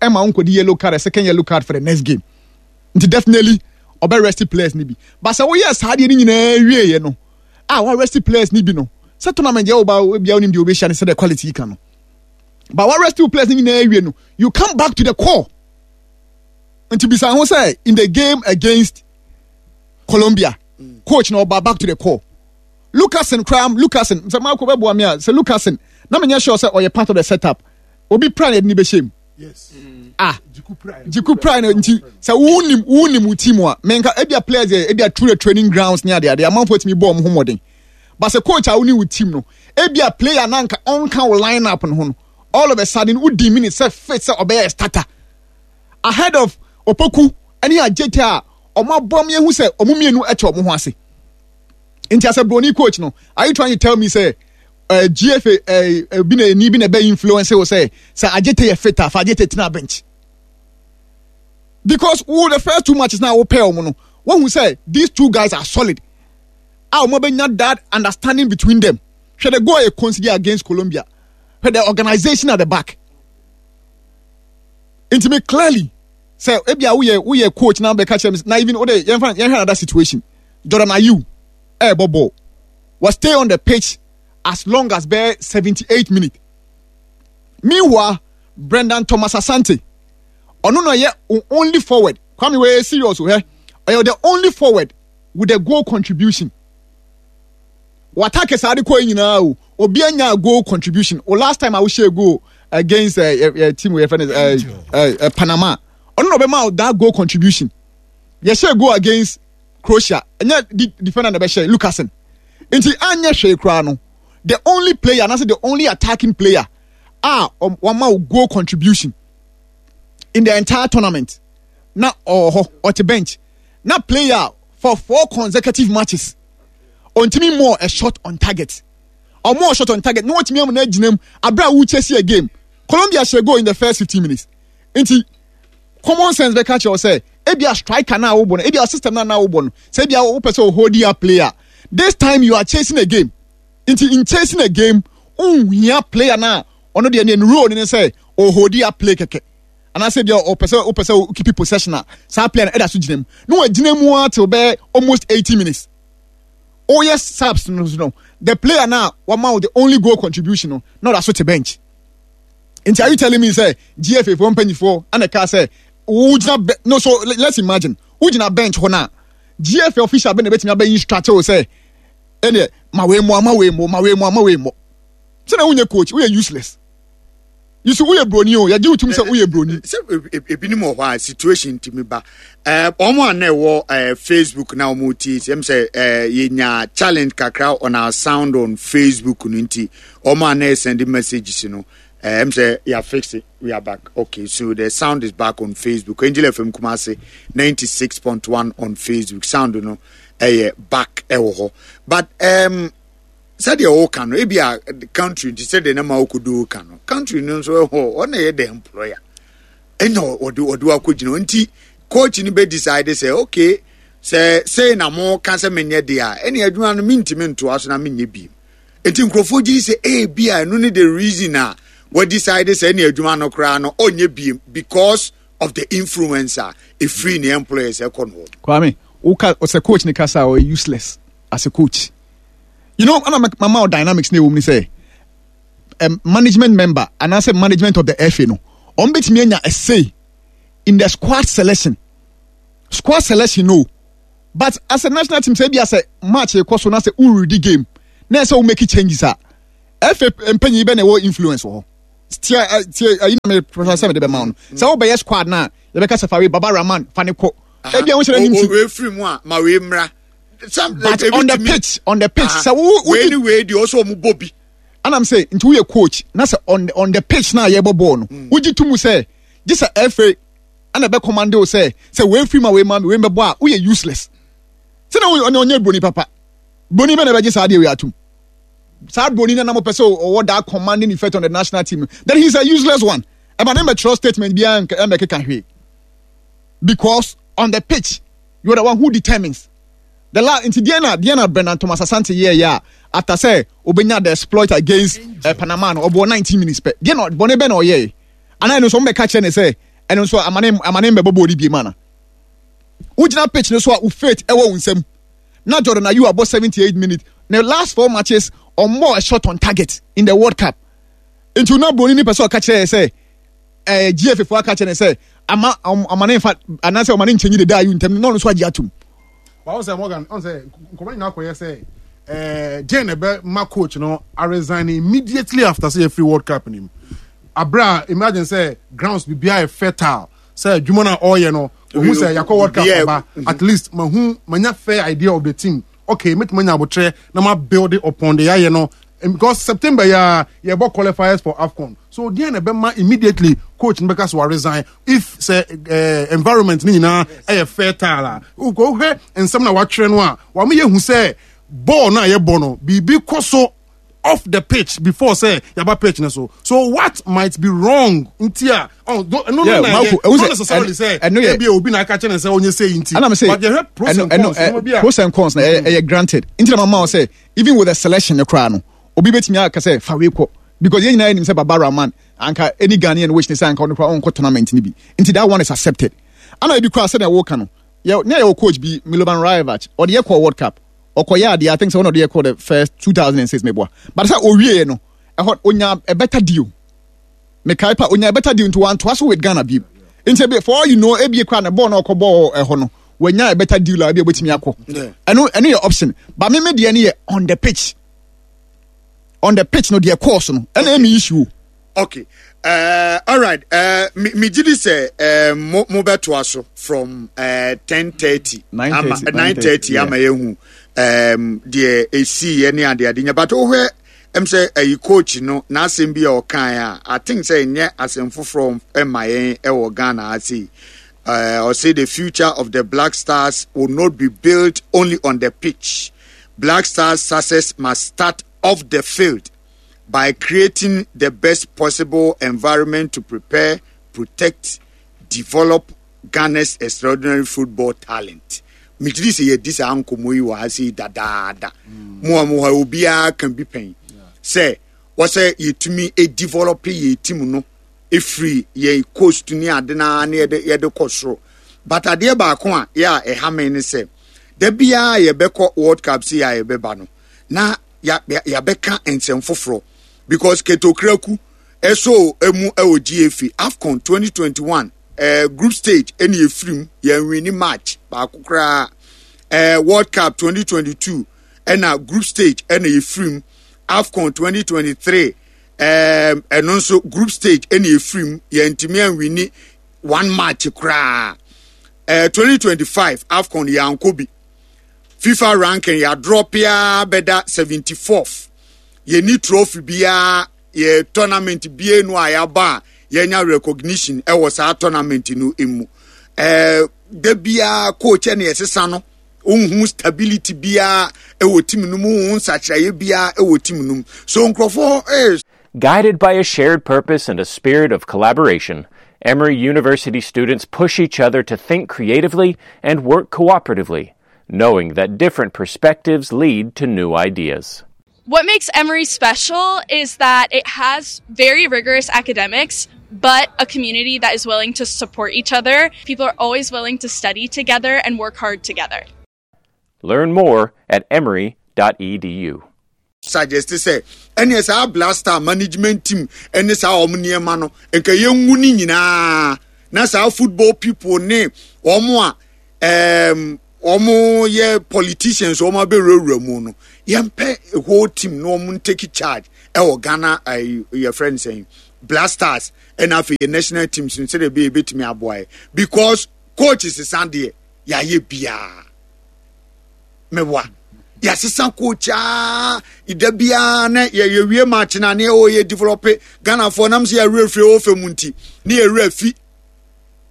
ɛma wo nkɔdi yellow card, a second yellow card for the next game. Nti definitely ɔbɛ rest players ni bi. But sɛ woyɛ saa deɛ no nyinaa wieɛ no a wa rest players ni bi no sɛ tournament deɛ woba bia wonim deɛ wobɛhyia no sɛ the quality yi ka no. But wa rest players ni nyinaa wie no you come back to the core. Nti bisa ho sɛ in the game against Colombia coach na ɔba back to the core. Lukasen koraa Lukasen sɛ Marco bɛboa me a sɛ Lukasen na menyɛ sure sɛ ɔyɛ part of the setup obi pra na yɛde ne bɛhyɛ mu. Yes. Ah, Jiku Prime no nti sɛ wonim wonim wo team a menka ebia players yɛ ebia through the training grounds ne ade ade amanfoɔ tumi bɔ ɔmo ho mmɔden but sɛ coach a wone wo team no ebia player na nka ɔnka wo line up no ho no all of a sudden wodi minute sɛ fit sɛ ɔbɛyɛ starter ahead of Opoku ne Adjetey a ɔmo abɔ ɔmo ehu sɛ ɔmo mmienu ɛkyɛ ɔmo ho ase nti asɛ broni coach no are you trying to tell me sɛ GFA bi na ni bi na ɛbɛ influence wo sɛ sɛ Adjetey yɛ fit a fa Adjetey tena bench because wo the first two matches na wo pair ɔmo no wɔn hu sɛ these two guys are solid a wɔn abɛnya that understanding between them hwɛ the goal yɛ concede against Colombia hwɛ the organization at the back nti me clearly sɛ ebi a woyɛ woyɛ coach na bɛka kyerɛ me na even wode yɛmfa yɛnhwɛ another situation Jordan Ayew ɛɛbɔ ball was stay on the pitch as long as bɛyɛ 78 minutes meanwhile Brendan Thomas Asante ɔno na ɔyɛ only forward Kwame wei serious o hɛ ɔyɛ the only forward with a goal contribution watake saa de kɔ yi nyinaa o obi anya goal contribution o last time a wohyɛ goal against team wey yɛfrɛ no Panama ɔno na ɔbɛma that goal contribution yɛhyɛ goal against Croatia ɛnyɛ defender na ɛbɛhyɛ Lukasen nti anyɛ hwee koraa no the only player anaasɛ the only attacking player a wama wo goal contribution in the entire tournament na ɔwɔ hɔ ɔte bench na player for four consecutive matches ɔntumi mmɔɔ a shot on target ɔmɔɔ shot on target na wɔtumi ama no agyina mu abere a wokyɛ a game Colombia hyɛ goal in the first 15 minutes nti common sense bɛka kyerɛ wo sɛ ebia striker na wobɔ no ebia system na na wobɔ no sɛ ebia wopɛ sɛ hold up player this time you are chasing a game nti in chasing a game nhia player na ɔno deɛ ne role ne sɛ ɔhold up play kɛkɛ anaasɛ ebia ɔpɛ sɛ wopɛ sɛ keep possession a saa player no ɛda so gyina mu na wagyina mu ara till bɛyɛ almost 80 minutes woyɛ subs no so no the player na wama wo the only goal contribution no na ɔda so te bench nti are you telling me sɛ GFA foɔ mpanyinfoɔ ɛna ɛka sɛ wogyina bɛ no so let's imagine wogyina bench hɔ na GFA official bɛ na ebɛtumi abɛ instruct wo sɛ ɛnɛ ma wei mo ama wei mo ma wei mo ama wei mo sɛ na wonyɛ coach woyɛ useless you see woyɛ broni o yɛgye wo tum sɛ woyɛ broni. Sɛ ebinom wɔ hɔ a situation ntumi ba wɔn a na ɛwɔ Facebook na wɔn tie sɛm sɛ yɛnya challenge kakra on our sound on Facebook no nti wɔn a na ɛsɛn messages no ɛm sɛ yɛ fix it we are back okay so the sound is back on Facebook Angel FM Kumasi 96.1 on Facebook sound no ɛyɛ back ɛwɔ hɔ but sɛdeɛ ɔka no ebi a country nti sɛdeɛ ne ma ɔkɔdo ka no country no nso ɛhɔ ɔna yɛ the employer ɛna ɔde ɔde wakɔgyina nti coach no bɛ decide sɛ okay sɛ sei na mo ka sɛ menyɛ deɛ a ɛne adwuma no mentumi ntoa so na menyɛ bi nti nkurɔfoɔ gye sɛ ebi a ɛno ne the reason a wɔ decide sɛ ɛne adwuma no koraa no ɔnyɛ bi because of the influence a ɛfiri ne employers ɛkɔ no hɔ. Kwame, woka ɔsɛ coach ne kasa a ɔyɛ useless as a coach. You know, ana mama wo dynamics na ɛwɔ mu ne sɛ management member anaasɛ management of the FA no wɔn bɛtumi anya a say in the squad selection. Squad selection no, but as a national team sɛ ebi asɛ match ekɔ so na sɛ woredi game na ɛsɛ wo make changes a. FA mpanyin bɛ na ɛwɔ influence wɔ hɔ. Tia tia ayi na me professor sɛ mede bɛma wo no. Sɛ wobɛyɛ squad no a yɛbɛka sɛ fa wei Baba Rahman fa ne kɔ. Ebi a wo hyɛ n'anim ti. Wei firi mu a ma wei mmra. But on the pitch on the pitch sɛ wo wo wei ni wei deɛ ɔsɛ ɔmo bɔ bi. Anam sɛ nti woyɛ coach na sɛ on on the pitch na yɛbɔ bɔɔl no mm. wogye to mu sɛ gye sɛ FA ɛna ɛbɛ command wo sɛ sɛ wei firi ma wei ma wei mbɛbɔ a woyɛ useless. Sɛ na ɔnyɛ ɔnyɛ broni papa. Broni bɛ na ɛbɛgye saa adeɛ wei atum. Saa broni na na mo pɛ sɛ ɔwɔ that commanding effect on the national team then he is a useless one. Ɛma ne mbɛtwerɛ statement biara ɛmbɛkeka hwee because on the pitch you are the one who determines the la nti deɛ na deɛ na Bernard Thomas Asante yɛ yɛ a after sɛ obenya the exploit against uh, Panama no ɔbɔ 19 minutes pɛ deɛ na bɔne bɛ na ɔyɛ anaa ɛno nso ɔmo bɛka kyerɛ ne sɛ ɛno nso amane amane mbɛbɔ bɔɔl no bie mu ana wogyina pitch no so a wo faith ɛwɔ wo nsam na Jordan Ayew abɔ 78 minutes ne last four matches ɔmmɔ a shot on target in the World Cup nti na broni ni pɛ sɛ ɔka kyerɛ yɛ sɛ ɛɛ GFA fo aka kyerɛ ne sɛ ama ama ne nfa anaasɛ ɔma ne nkyɛnyi deda ayi ntɛm na ɔno nso agye atum. Wɔn sɛ Morgan ɔn sɛ nkɔmɔ nyinaa kɔyɛ sɛ ɛɛ jane ɛbɛ ma coach no a resign immediately after sɛ yɛfiri World Cup nim abira imagine sɛ grounds biribiara yɛ fertile sɛ adwuma no a ɔreyɛ no ohun sɛ yakɔ World Cup aba at least mahu manya fair idea of the team okay mɛtumi anya abotrɛ na ma build it upon the yɛayɛ no because September yɛ a yɛbɔ qualifiers for AFCON so deɛ na ɛbɛma immediately coach no bɛka so wa resign if sɛ eh, environment no nyinaa ɛyɛ fertile a wohwɛ nsɛm na watwerɛ no a wɔn yɛ hu sɛ bɔɔl no a yɛbɔ no biribi kɔ so off the pitch before say yaba pitch ne so so what might be wrong nti a oh no no no na yɛ not necessarily say ebi obi na aka kyerɛ ne sɛ onye say nti but yɛhwɛ pros and cons no bi a pros and cons na ɛyɛ granted nti na mama sɛ even with the selection ne koraa no obi betumi aka sɛ fa wei kɔ because yɛn nyinaa yɛnim sɛ Baba Rahman anka any Ghanaian wish ne sɛ anka ɔno koraa ɔnkɔ tournament no bi nti that one is accepted ana ebi koraa sɛdeɛ wɔka no yɛ ne yɛ coach bi Milovan Rajevac ɔde yɛ kɔ World Cup ɔkɔyɛ adeɛ I think sɛ ɔna ɔde yɛ kɔ the first 2006 meboa but sɛ ɔwieɛ no ɛhɔ onya a better deal mekae pa onya a better deal nti wantoa so with Ghana bio nti ebi for all you know ebi kora na bɔɔl na ɔkɔ bɔɔl ɛhɔ no wanya a better deal a ebi obetumi akɔ ɛno ɛno yɛ option but me me deɛ no yɛ on the pitch on the pitch no deɛ course no ɛna ɛmi issue. Okay. Uh, all right. Uh, me me gidi sɛ uh, mo mo bɛtoa so from uh, 10:30 ama 9:30 ama yɛhu um, deɛ esi yɛ ne ade ade nya but wohwɛ ɛm sɛ ɛyi coach no n'asɛm bi a ɔkae a I think sɛ ɛnyɛ asɛm foforɔ ɛma yɛn ɛwɔ Ghana ase yi. Uh, ɔsɛ the future of the Black Stars will not be built only on the pitch. Black Stars success must start off the field by creating the best possible environment to prepare, protect, develop Ghana's extraordinary football talent. Megye sɛ yɛdi saa nkɔmmɔ yi wɔ ha sei dadaada. Mo a mo hɔ obiara ka bi pɛn sɛ wɔsɛ yɛtumi develop yɛ team no ɛfiri yɛn coast ne ade no ara ne yɛde yɛde kɔ soro. But adeɛ baako a yɛ a ɛha me ne sɛ da biara yɛbɛkɔ World Cup sei a yɛbɛba no na yɛabɛka nsɛm foforɔ because Ketokraku ɛso emu ɛwɔ GFA AFCON 2021 eh, group stage ɛna yɛfiri mu yɛnwini match baako koraa eh, World Cup 2022 ɛna group stage ɛna yɛfiri mu AFCON 2023 eh, ɛno nso group stage ɛna yɛfiri mu yɛntumi anwini one match koraa eh, 2025 AFCON yɛankɔ bi FIFA ranking yɛadrɔpe ara bɛda 74th. Yɛnni trophy biara, yɛ tournament biara nu a yɛaba a yɛnya recognition ɛwɔ saa tournament no mu. Ɛɛ da biara coach ɛna yɛsesa no, wohu stability biara ɛwɔ team no mu, wohu nsakyeraeɛ biara ɛwɔ team no mu. So nkurɔfoɔ ɛɛ. Guided by a shared purpose and a spirit of collaboration, Emory University students push each other to think creatively and work cooperatively, knowing that different perspectives lead to new ideas. What makes Emory special is that it has very rigorous academics, but a community that is willing to support each other. People are always willing to study together and work hard together. Learn more at emory.edu. Suggest sɛ ɛneɛ saa blaster management team ɛne saa wɔn nneɛma no nka yɛngu ne nyinaa na saa football people ne wɔn a um, wɔn yɛ politicians wɔn abɛwurawura mu no yɛmpɛ whole team na wɔn take charge ɛwɔ Ghana ɛyi yɛfrɛ no sɛn Black Stars ɛna afei yɛ national teams no sɛdeɛ ɛbɛyɛ ɛbɛtumi aboa yɛ because coach sesa deɛ yɛayɛ biara mewa yɛasesa coach aa da biara na yɛwie match na ne ɛwɔ yɛ develop Ghanafoɔ nam sɛ yɛwerɛ firi ɛwɔ fɛ mu nti ne yɛwerɛ fi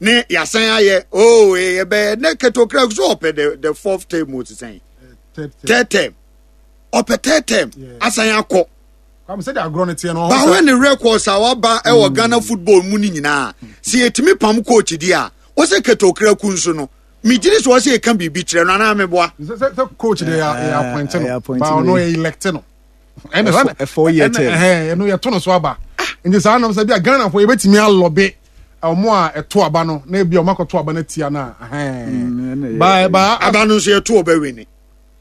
ne yɛasan ayɛ oh yɛbɛyɛ ne ketokra so ɔpɛ the the fourth term o sesɛn third term ɔpɛ third term asan akɔ bawɛ ne records a waba ɛwɔ mm. Ghana football mu ne nyinaa sɛ yɛtumi pam coach di a wɔsɛ ketokra ku nso no megyere sɛ wɔsɛ yɛka biribi kyerɛ no anaa meboa sɛ coach de yɛ appoint no ba ɔno yɛ elect no ɛfɔ yɛ tɛ ɛno yɛto no so aba nti saa nam sɛ bi a Ghana fo yɛbɛtumi alɔbe ɔmo a ɛto aba no na ebi a ɔmo akɔto aba no atia no a mm, ba ba aba no nso yɛto ɔbɛ wini.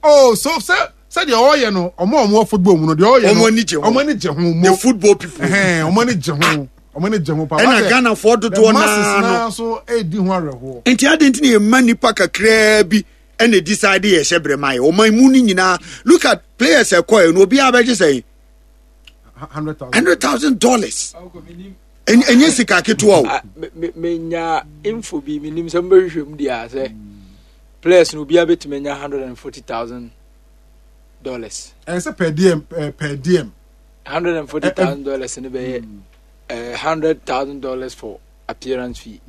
oh so sɛ sɛ deɛ ɔyɛ no ɔmo a ɔmo wɔ football mu no deɛ ɔyɛ no ɔmo ani gye ho ɔmo ani gye ho mo the football people ɔmo ani gye ho ɔmo ani gye ho paa ɛna Ghana foɔ dodoɔ naa no so edi ho awerɛhoɔ nti adi nti na yɛ mma nipa kakraa bi ɛna decide yɛ hyɛ brɛ ma yɛ ɔman mu no nyinaa look at players ɛkɔ yɛ no obiara bɛgye sɛn $100,000 ɛnyɛ sika ketewa o. Ah, menya info bi menim sɛ mobɛhwehwɛ mu deɛ a sɛ players no obiara bɛtumi anya $140,000. Ɛyɛ sɛ per diem per diem. $140,000 no bɛyɛ $100,000 for appearance fee,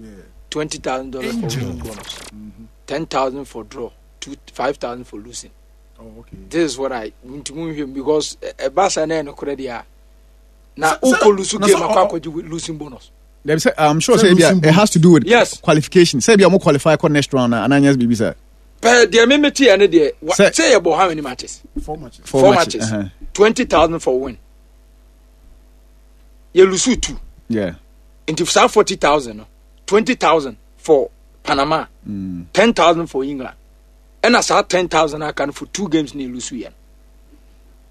$20,000 for winning bonus, $10,000 for draw, $5,000 for losing. Oh, okay. This is what I nti mu nhwɛ mu because ɛba sa na ɛno korɛ deɛ a na wokɔ lose game akɔ akɔgye losing bonus. Dabi sɛ I'm sure sɛ ebia it has to do with yes. qualification sɛ ebia ɔmo qualify kɔ next round na ananyɛ biribi sɛ. Pɛɛ deɛ mi mi ti yɛ ne deɛ sɛ yɛ bɔ how many matches? Four matches. Four matches. 20,000 for win. Yɛ lose two. Yeah. Nti saa 40,000 no 20,000 for Panama, 10,000 for England. Ɛna saa 10,000 aka no for two games na elusu yɛ no.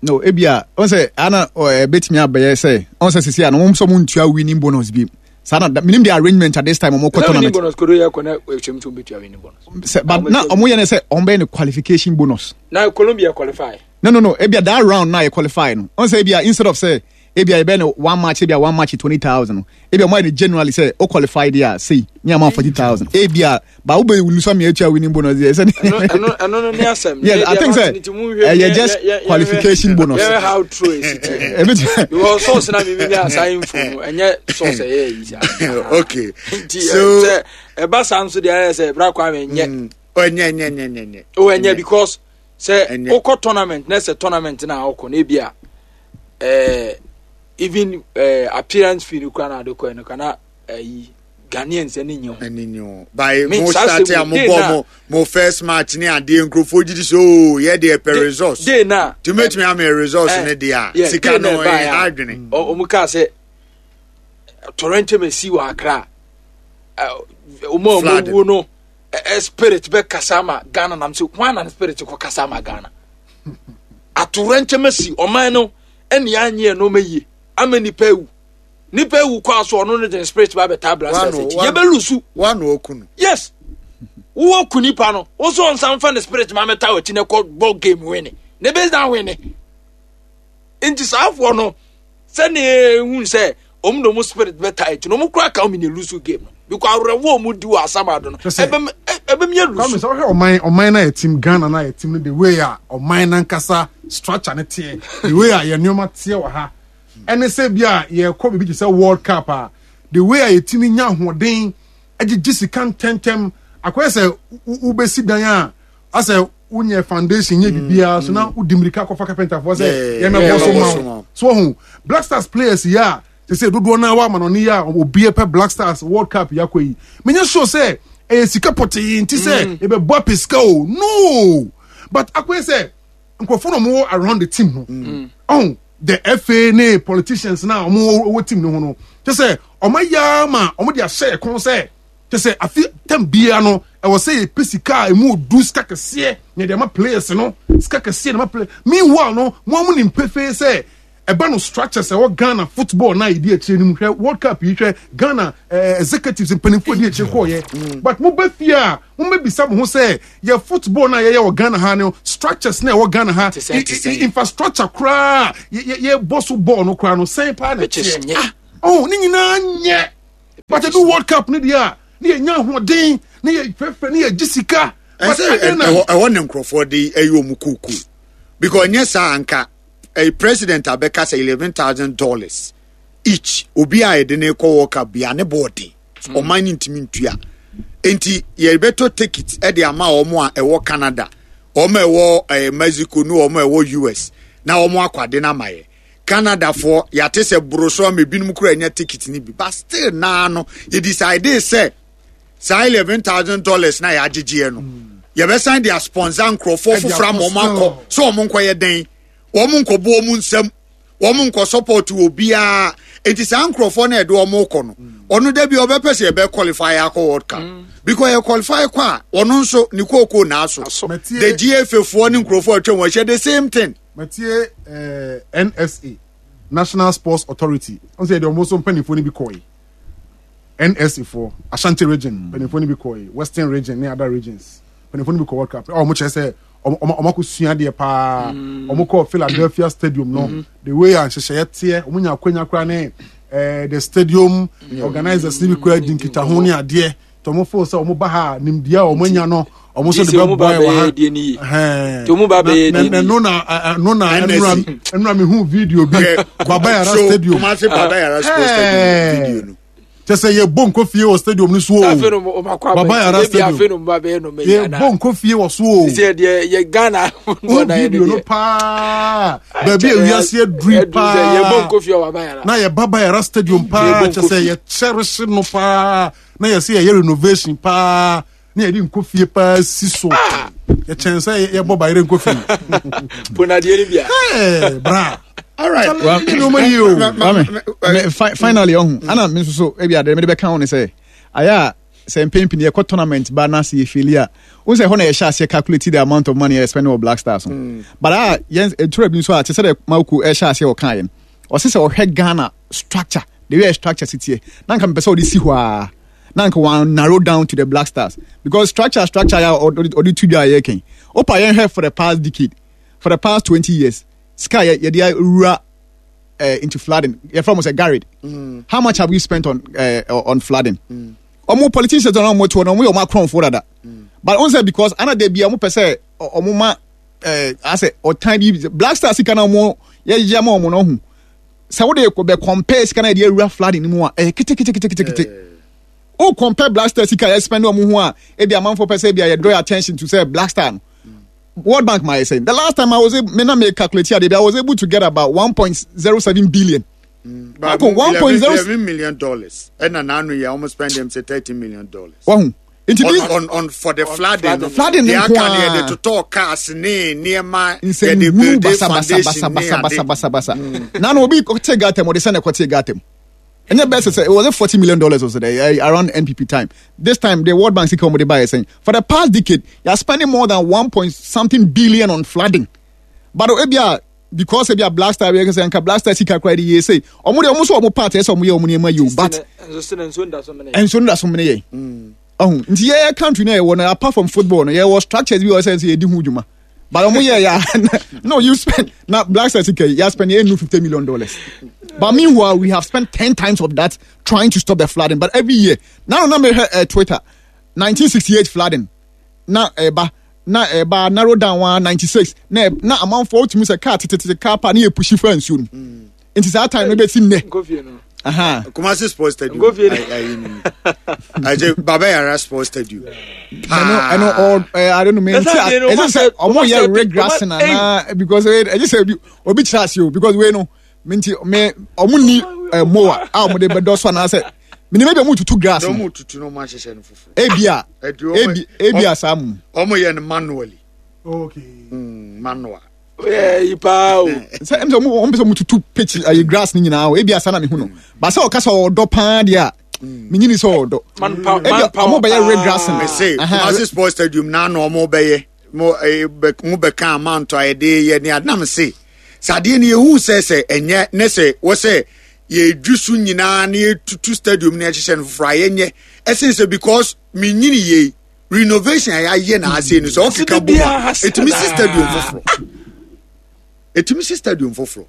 No, ebia ɔn sɛ ana ɛbɛtumi abɛyɛ sɛ ɔn sɛ sisi ano wɔn nso wɔn ntua winning bonus bi saa na minim the arrangement at this time wɔn kɔ tournament. Winning bonus kodo yɛ kɔ na ekyɛm tó bɛtua winning bonus. Sɛ but na wɔn yɛ ne sɛ wɔn bɛyɛ ne qualification bonus. Na Colombia qualify. No no no ebia that round na yɛ qualify no ɔn sɛ ebia instead of sɛ ebia yɛbɛyɛ no one match ebia one match 20,000 no ebia ɔmo ayɛ no generally sɛ o qualify deɛ a sei ne ama 40,000 ebia ba wo bɛ lusa mi etua winning bonus deɛ sɛ ɛno ɛno ɛno no ne asɛm yes I think sɛ ɛyɛ just qualification bonus yɛhwɛ how true esi tiɛ ebi ti because source na mi mi nya asa info no ɛnyɛ source ɛyɛ yi sa okay nti sɛ ɛba saa nso deɛ ayɛ sɛ ɛbra kwame nyɛ ɛnyɛ ɛnyɛ ɛnyɛ ɛnyɛ o ɛnyɛ because sɛ wokɔ tournament na sɛ tournament na wokɔ na ebi a ɛɛ even ɛɛ appearance fee no kura na ade kɔ no kana ɛyi Ghanaians ɛni nye ho. Ɛni nye ho by mo start a mo bɔ mo mo first match ne adeɛ nkurɔfoɔ gyi di so ooo yɛ deɛ pɛ results. Day na tumi etumi ama results ne deɛ a sika no ɛyɛ adwene. Ɔmo kaa sɛ torrential mesi wɔ Accra ɔmo a ɔmo wuo no. Spirit bɛ kasa ama Ghana nam sɛ hwan na ne spirit kɔ kasa ama Ghana atowerɛnkyɛm asi ɔman no ɛne anyɛ nneɛma yie ama nipa ewu nipa ewu kɔ aso ɔno no de spirit ba bɛta abira sɛ ɛsɛ yɛ bɛ lusu yes wowɔ ku nipa no wosɔ nsa nfa ne spirit ma mɛta wɔ akyi na ɛkɔ bɔ game wini ne bɛ na wini nti saa afoɔ no sɛnea ehu sɛ wɔn na wɔn spirit bɛ taa akyi na wɔn kura ka wɔn na elusu game no because awerɛhoɔ wɔn di wɔ asamado no ɛbɛm ɛbɛm yɛ lusu. Kwame sɛ ɔhwɛ ɔman ɔman na yɛ team Ghana na yɛ team no the way a ɔman nankasa structure ne teɛ the way a yɛ nneɛma teɛ wɔ ha ɛne sɛ bi a yɛkɔ biribi te sɛ World Cup a the way a yɛtumi nya ahoɔden agyegye sika ntɛntɛm akɔyɛ sɛ wobɛsi dan a asɛ wonyɛ foundation nyɛ biribiara so na wodi mmirika kɔfa carpenterfoɔ sɛ yɛmɛbɔ so ma wo so ɔho Black Stars players yi a sɛ sɛ dodoɔ no a wɔama no ne yɛ a obi pɛ Black Stars World Cup yi akɔ yi menyɛ sure sɛ ɛyɛ sika pɔtee nti sɛ yɛbɛbɔ apɛ sika o no but akɔyɛ sɛ nkurɔfoɔ na wɔwɔ around the team no ɔho the FA ne politicians na wɔwɔ team no ho no kyɛ sɛ wɔn ayɛ ama wɔn de ahyɛ yɛ kɔn sɛ Kyɛ sɛ afe tam biara no ɛwɔ sɛ yɛpɛ sika a ɛmu odu sika kɛseɛ na yɛde ama players no sika kɛseɛ na ma play meanwhile no mo a mo nim pefee sɛ Ɛba no structures ɛwɔ Ghana football na yɛdi akyire no mu hwɛ World Cup yi hwɛ Ghana eh, executives mpanimfoɔ di akyire kɔɔyɛ mm. but mo bɛ fie a mo bɛ bisa mo ho sɛ yɛ football na yɛyɛ wɔ Ghana ha no structures na ɛwɔ Ghana ha infrastructure koraa yɛ yɛ bɔ so bɔɔl no koraa no sɛn paa na ɛteɛ ah oh ne nyinaa nyɛ but ɛdu World Cup no deɛ a ne yɛ nya ahoɔden ne yɛ fɛfɛ ne yɛ gye sika. Ɛsɛ ɛhɔ ne nkurɔfoɔ de ɛyɛ wɔn kuku because nyɛ saa anka. ɛyɛ president abɛka sɛ $11,000 each obi a yɛde ne kɔ World Cup bia ne bɔɔ den hmm. ɔman ne ntumi ntua nti yɛbɛtɔ ticket ɛde ama wɔn a ɛwɔ Canada wɔn a ɛwɔ ɛɛ Mexico ne wɔn a ɛwɔ US na wɔn akɔ ade no ama yɛ Canada foɔ yɛate sɛ boroso ama ebinom kura nya ticket no bi but still naa no yɛ decide sɛ saa $11,000 na yɛagyegyeɛ no yɛbɛsan de asponsor nkurɔfoɔ foforɔ ama wɔn akɔ so wɔn nkɔyɛ dɛn wɔn nkɔbɔ wɔn nsam wɔn nkɔ support obiara nti saa nkurɔfoɔ no yɛde wɔn kɔ no ɔno da bi ɔbɛpɛ sɛ yɛbɛ qualify akɔ world cup mm. because yɛ qualify kɔ a ɔno nso ne kooko na aso the gfa foɔ ne nkurɔfoɔ atwa wɔn ahyia the same thing. Matie eh, NSA National Sports Authority ɔn sɛ yɛde wɔn nso mpanimfoɔ no bi kɔɛ. NSA foɔ Ashanti region mm. mpanimfoɔ no bi kɔɛ Western region ne other regions mpanimfoɔ no bi kɔ World Cup a wɔn kyerɛ sɛ wɔn akɔ sua adeɛ paa mm. wɔn kɔ Philadelphia Stadium no mm. the way a nhyehyɛeɛ teɛ wɔn nya akwanya koraa ne eh, the stadium organizers ne bi koraa di nkitaho ne adeɛ tɔ wɔn fo sɛ wɔn ba ha nimdeɛ a wɔn anya no wɔn nso de bɛ bɔ ɛwɔ ha na ɛno na ɛno na ɛnura ɛnura mi hu video bi Baba Yara stadium Kumasi Baba Yara sports stadium video no kyɛ sɛ yɛ bɔ nkɔ fie wɔ stadium no so o Baba Yara stadium yɛ bɔ nkɔ fie wɔ so o video no paa baabi a wiase aduri paa na yɛ Baba Yara stadium paa kyɛ sɛ yɛ cherish no paa na yɛsɛ yɛyɛ renovation paa na yɛde nkɔ fie paa si so ah! yɛkyɛn sɛ yɛbɔ bayerɛ nkɔ fie ponadeɛ no bia bra All right. Well, finally, ɔho ana me nso so ebi adeɛ mede bɛka ho ne sɛ ayɛ a sɛ mpɛn pii yɛkɔ tournament ba na sɛ yɛfeli a wohu sɛ ɛhɔ na yɛhyɛ aseɛ calculate the amount of money yɛ spend wɔ Black Stars ho mm. but a yɛn ɛtura bi nso a te sɛ dɛ Mawuko ɛhyɛ aseɛ ɔka yɛn ɔse sɛ ɔhwɛ Ghana structure the way structure si teɛ na nka mepɛ sɛ ɔde si hɔ a na nka wɔn narrow down to the Black Stars because structure structure yɛ ɔde tu dwa yɛ kɛn opa yɛn hwɛ for the past decade for the past 20 years sika yɛ yɛde awura into flooding yɛfrɛ mo sɛ garid mm. How much have we spent on flooding? Ɔmo mm. Politicians na ɔmo toɔ no ɔmo yɛ ɔmo akorɔmfoɔ dada mm. But ɔn sɛ because ana de bia ɔmo pɛ sɛ ɔmo ma asɛ ɔtan bi Black Star sika na ɔmo yɛyɛ ma ɔmo no ɔho sɛ wode bɛ compare sika na yɛde awura flooding no mu a ɛyɛ keteketeketekete o compare Black Star sika yɛ spend ɔmo ho a ebi amanfoɔ pɛ sɛ ebi a yɛ draw attention to sɛ Black Star no World Bank ma yɛ sɛ the last time I was able me na me calculate ade I was able to get about 1.07 billion. Mm, but $11 million ɛna n'anu yɛ almost spend them say $30 million. Wahu nti on, on, on for the flooding no flooding ne nko ara yɛde totɔ cars ne nneɛma yɛde build foundation ne ade basabasa na na obi te gata mu ɔde sɛ na ɛkɔ te gata mu ɛnyɛ bɛsɛ sɛ it was it $40 million or so there, around NPP time. This time the World Bank sika wɔn de ba yɛ sɛn for the past decade you are spending more than one point something billion on flooding, but ebia because ebia Black Star yɛ sɛ nka Black Star sika kora de yie sɛ ɔmo de ɔmo nso ɔmo part ɛsɛ ɔmo yɛ ɔmo nneɛma yie o, but nso nda so mene yɛ ɔho nti yɛ country na yɛwɔ no apart from football no yɛwɔ structures bi wɔ sɛ sɛ yɛdi ho dwuma, but ɔmo yɛ ya no you spend na Black Star sika yi yɛ spend yɛ nu $50 million, but meanwhile we have spent 10 times of that trying to stop the flooding. But every year na no na mehwɛ Twitter 1968 flooding na ɛba na ɛba narrow down wa 96 na amanfoɔ wotumi sɛ car tetetete car pa ne yɛ push fa nsuo no nti saa time no bɛsi nnɛ. Kumasi Sports Stadium. Ayi Baba Yara Sports Stadium. Ɛno ɔ ɛ I don't know me nti ɛsɛ sɛ ɔmo yɛ regrassing ana because ɛyɛ sɛ obi obi kyerɛ ase o because wei no me nti me ɔmo ni ɛ mower a ɔmo de bɛdɔ so anaasɛ minimum ebi ɔmo tutu grass no. Ɔmo tutu no ɔmo ahyehyɛ no foforɔ. Ebi a ebi a saa mu. Ɔmo yɛ no manually. Okay. Manual. Yi paa o. Sɛ ɛm sɛ ɔmo pɛ sɛ ɔmo tutu pitch ayi grass ne nyinaa o ebi asa na mi hu no ba sɛ ɔka sɛ ɔdɔ paa deɛ a mi nyini sɛ ɔdɔ ebi ɔmo bɛyɛ red grass no. Mese Kumasi Sports Stadium na na ɔmo bɛyɛ mo bɛ mo bɛ kan amount a yɛde yɛ ne adenam se. Sɛ adeɛ no yɛhu sɛ sɛ ɛnyɛ ne sɛ wɔ sɛ yɛdwi so nyinaa na yɛtutu stadium na yɛhyehyɛ no foforɔ a yɛnyɛ ɛsen sɛ because menyini yei renovation a yɛayɛ na ase no sɛ ɔkeka bom a ɛtumi si stadium foforɔ ɛtumi si stadium foforɔ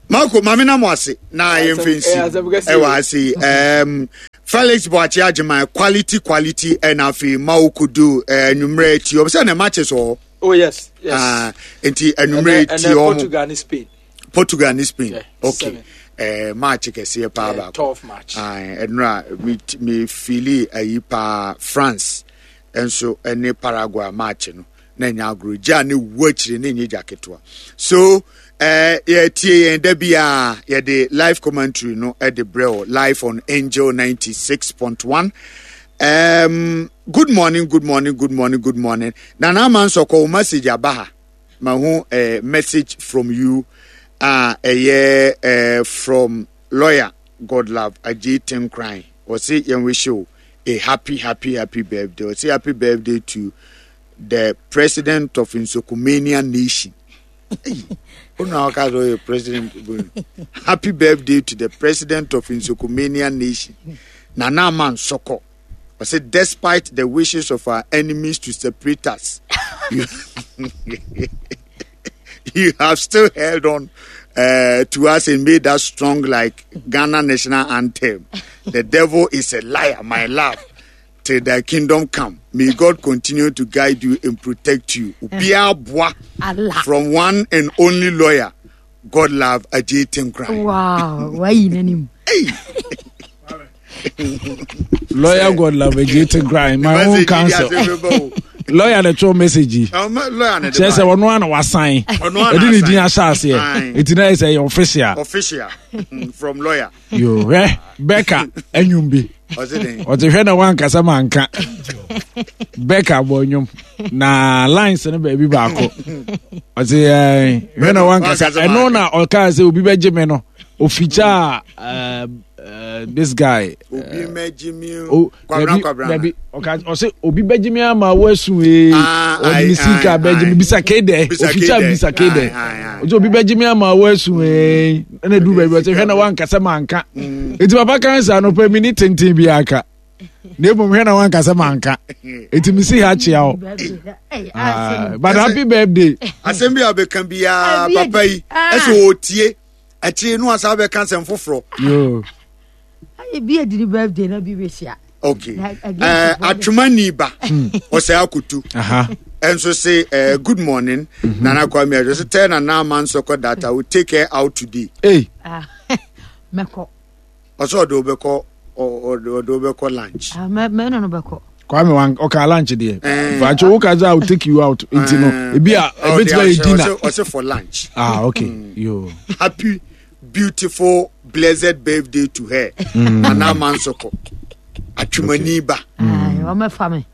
Marco maame na mo ase na yɛmfa nsi ɛwɔ ase yi um, Felix Boakye Agyeman quality quality ɛna afei Mao Kudu anwummerɛ eh, ti ɔbɛ sɛ na matches wɔ hɔ. Oh yes, yes. Ah, nti anwummerɛ ti ɔmo. Portugal ne Spain. Portugal ne Spain. Yeah, okay. Eh, match kɛseɛ paa baako. Twelve match. Ah, ɛnura mi mi fili ayi paa France nso ɛne Paraguay match no na ɛnyɛ agorɔ gya ne wu akyire ne nyɛ gya ketewa so eh, yɛtie yɛn da biara yɛde live commentary no de brɛ o live on Angel 96.1 um, good morning good morning good morning good morning nana ama nsɔkɔ wo message aba ha mahu eh, message from you a ɛyɛ eh, from lawyer Godlove Ajay Tenkran ɔse yɛn wish you a happy happy happy birthday ɔse happy birthday to the president of Nsokumania nation Una ɔka sɛ ɔyɛ president happy birthday to the president of Nsokumania nation Nana Ama Nsɔkɔ ɔse despite the wishes of our enemies to separate us you, you have still held on uh, to us and made us strong like Ghana national anthem. The devil is a liar, my love. Till thy kingdom come. May God continue to guide you and protect you. Obiara boa from one and only lawyer. God love Ajay Tinkran. Wow, why you name? Lawyer God love Ajay Tinkran. My own counsel. Lawyer na twɛ message yi. Kyerɛ sɛ ɔno ana wasan. Ɛde ne din ahyɛ aseɛ. Eti na yɛ sɛ ɛyɛ official. Official mm, from lawyer. Yo hwɛ Becca enwom bi. Ɔte hwɛ na wankasa manka. Becca bɔ nnwom na lines no baabi baako. Ɔte ɛɛ hwɛ na wankasa ɛno na ɔkaa sɛ obi bɛgye me no ofikya ɛɛ this guy. Obi mɛgye mi o. Kwabena kwabena. Dabi ɔka ɔsɛ obi bɛgye mi ama wasu ee. Ɔde ne sika bɛgye mi bisa kee dɛ ofikya bisa kee dɛ. Ɔsɛ obi bɛgye mi ama wasu ee. Ɛna du baabi ɔsɛ hwɛ na wankasa manka. Eti papa kan sa no pɛ mi ni tenten bi aka. Na emom hwɛ na wankasa manka. Eti mi si ha kyea o. But happy birthday. Asɛm bi a ɔbɛka biara papa yi ɛsɛ ɔtie. Akyire no asa bɛka asɛm foforɔ. Ayɛ bi adi ne birthday na bi bɛhyia. Okay. Uh, Atwemani ba ɔsɛ akotu ɛnso se uh, good morning mm -hmm. Nana Kwame ɛdwo so tell Nana Amansoko that I will take her out today. Hey. Ah, mɛkɔ. Ɔsɛ ɔde wobɛkɔ ɔde wobɛkɔ lunch. Ah, mɛ no no bɛkɔ. Kwame wan ɔka lunch deɛ. Fàákyɛ wo ka sɛ I will take you out nti no ebi a ebetumi ayɛ dinner. Ɔsɛ for lunch. Ah okay mm. yo. Happy beautiful blessed birthday to her. Mm. Nana Amansoko atwemani ba. Ɔmɛfa mi.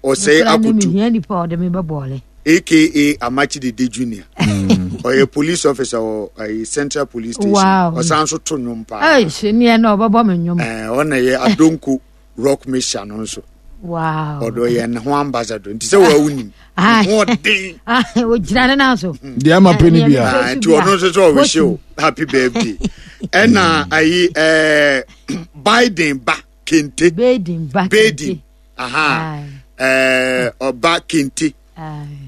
Ɔsɛ akotu. Mehia nipa ɔde mi bɛ bɔɔle. Aka Amachi Dede Junior. Ɔyɛ police officer wɔ ayi Central Police Station. Wow. Ɔsan so to nnwom paa. Ɛy senior na ɔbɛbɔ mi nnwom. Ɛɛ ɔna yɛ Adonko rock mixture no nso. Wow. Ɔdɔ yɛ ne ho ambassador nti sɛ wɔawo nim. Ho ɔden. Ogyina ne nan so. Deɛ ama pɛ ni bia. Nti ɔno nso sɛ ɔwehye o happy birthday. Ɛna ayi ɛɛ Biden ba kente. Biden ba kente. Biden. Aha. Ɛɛ ɔba kente.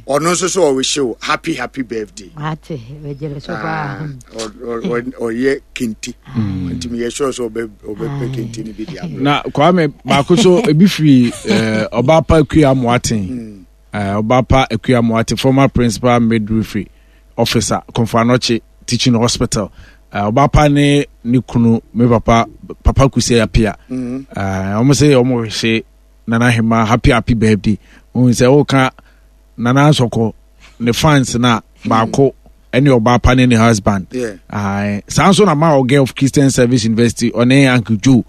Ɔno nso so ɔwehye o happy happy birthday. Ate bɛgyere so paa. Ɔyɛ kente. Nti meyɛ sure sɛ ɔbɛpɛ kente no bi de abrɛ. Na Kwame baako so ebi firi Ɔbaapa Akua Amoaten. Ɔbaapa Akua Amoaten former principal midwifery officer Komfo Anokye teaching hospital. Ɔbaapa ne ne kunu me papa Papa Kusi Apia. Wɔn sɛ wɔn hwehye Nana Hema happy happy birthday. Ohun sɛ woka Nana Nsɔkɔ ne fans na baako ɛne ɔbaa pa ne ne husband. Saa nso na ma ɔgɛ of Christian Service University ɔne Uncle Joe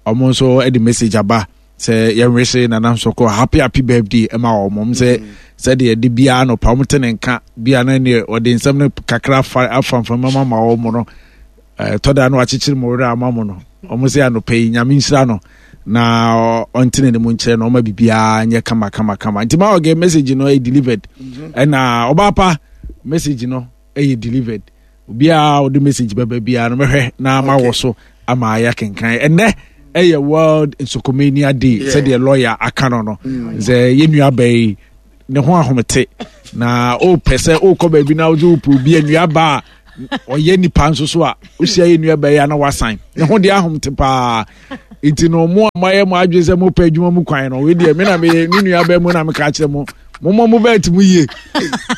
ɔmo nso ɛde message aba sɛ yɛnwese Nana Nsɔkɔ happy happy birthday ɛma wɔn sɛ sɛdeɛ ɛde biara nɔpa wɔn te ne nka biara na neɛ ɔde nsɛm no kakra afa afanfam ama wɔn no ɛtɔ da no akyekyere mo werɛ ama mo no wɔn sɛ anɔpa yi nyame nhyira no na ɔntene ne mu nkyerɛ na ɔma biribiara nyɛ kama kama kama nti ma ɔgɛ message no ɛyɛ delivered mhm. ɛna ɔbaa pa message no. ɛyɛ delivered. Obiara ɔde message bɛba biara no mɛhwɛ na ma wɔ so ama ayɛ kenkan. Ɛnɛ ɛyɛ World Nsokomania Day sɛdeɛ lawyer aka no no. Mm. Sɛ yɛn nua bɛyi ne ho ahomete na ɔpɛ sɛ ɔkɔ baabi na ɔdze wopɛ obi anuaba a ɔyɛ nipa nso so a wohyia yɛ nua bɛyɛ na wasan ne ho deɛ ahomte paa nti no mo a moayɛ mo adwene sɛ mopɛ adwuma mu kwan no wei deɛ me na meyɛ me nua bɛɛ mu na meka kyerɛ mo mommɔ mo bɛɛt mu yie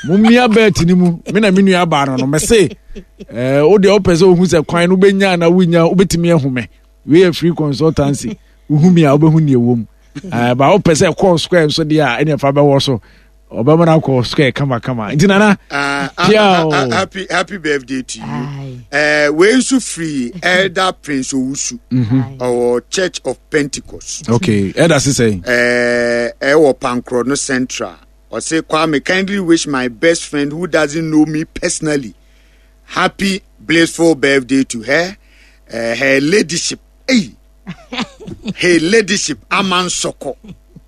mommia bɛɛt no mu me na me nua baa no no mese eh, wo deɛ wopɛ sɛ wohu sɛ kwan no wobɛnya na wonya wobɛtumi ahu me wei yɛ free consultancy wohu me a wobɛhu neɛ wɔ mu eh, ba wopɛ sɛ kɔɔ square nso deɛ a ɛne ɛfa bɛwɔ so ɔbɛma no akɔ square kamakama nti nana ah, ah, ah, happy happy birthday to you uh, wei nso firi elder prince owusu mhm. ɔwɔ church of pentecost okay elder sisɛ ɛwɔ eh, pankorɔ no central ɔse kwame kindly wish my best friend who doesn't know me personally happy blissful birthday to her uh, her ladyship hey her ladyship amansoko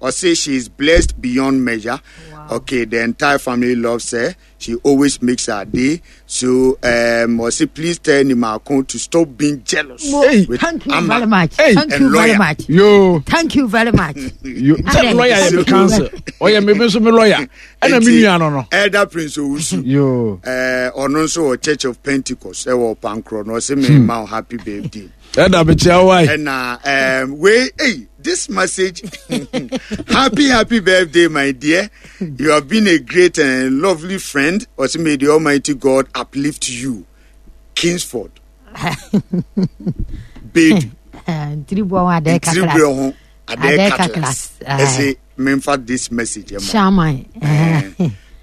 ɔse she is blessed beyond measure wow. okay the entire family loves her she always makes her day so um ɔse please tell nimako to stop being jealous Mo, hey, with thank you Ama very much hey, thank you very much yo thank you very much yo sɛ lawyer yɛ me counsel ɔyɛ me nso me lawyer ɛna me nua no no elder prince owusu yo ɛɛ ɔno nso wɔ church of pentecost ɛwɔ pankorɔ no ɔse me ma happy birthday ɛna mekyia wo ai ɛna um, wei hey, this message happy happy birthday my dear you have been a great and lovely friend ɔse may the almighty god uplift you kingsford bedu ntiriboɔ ho adɛ kakra ntiriboɔ ho adɛ kakra ɛse memfa this message ɛma shaman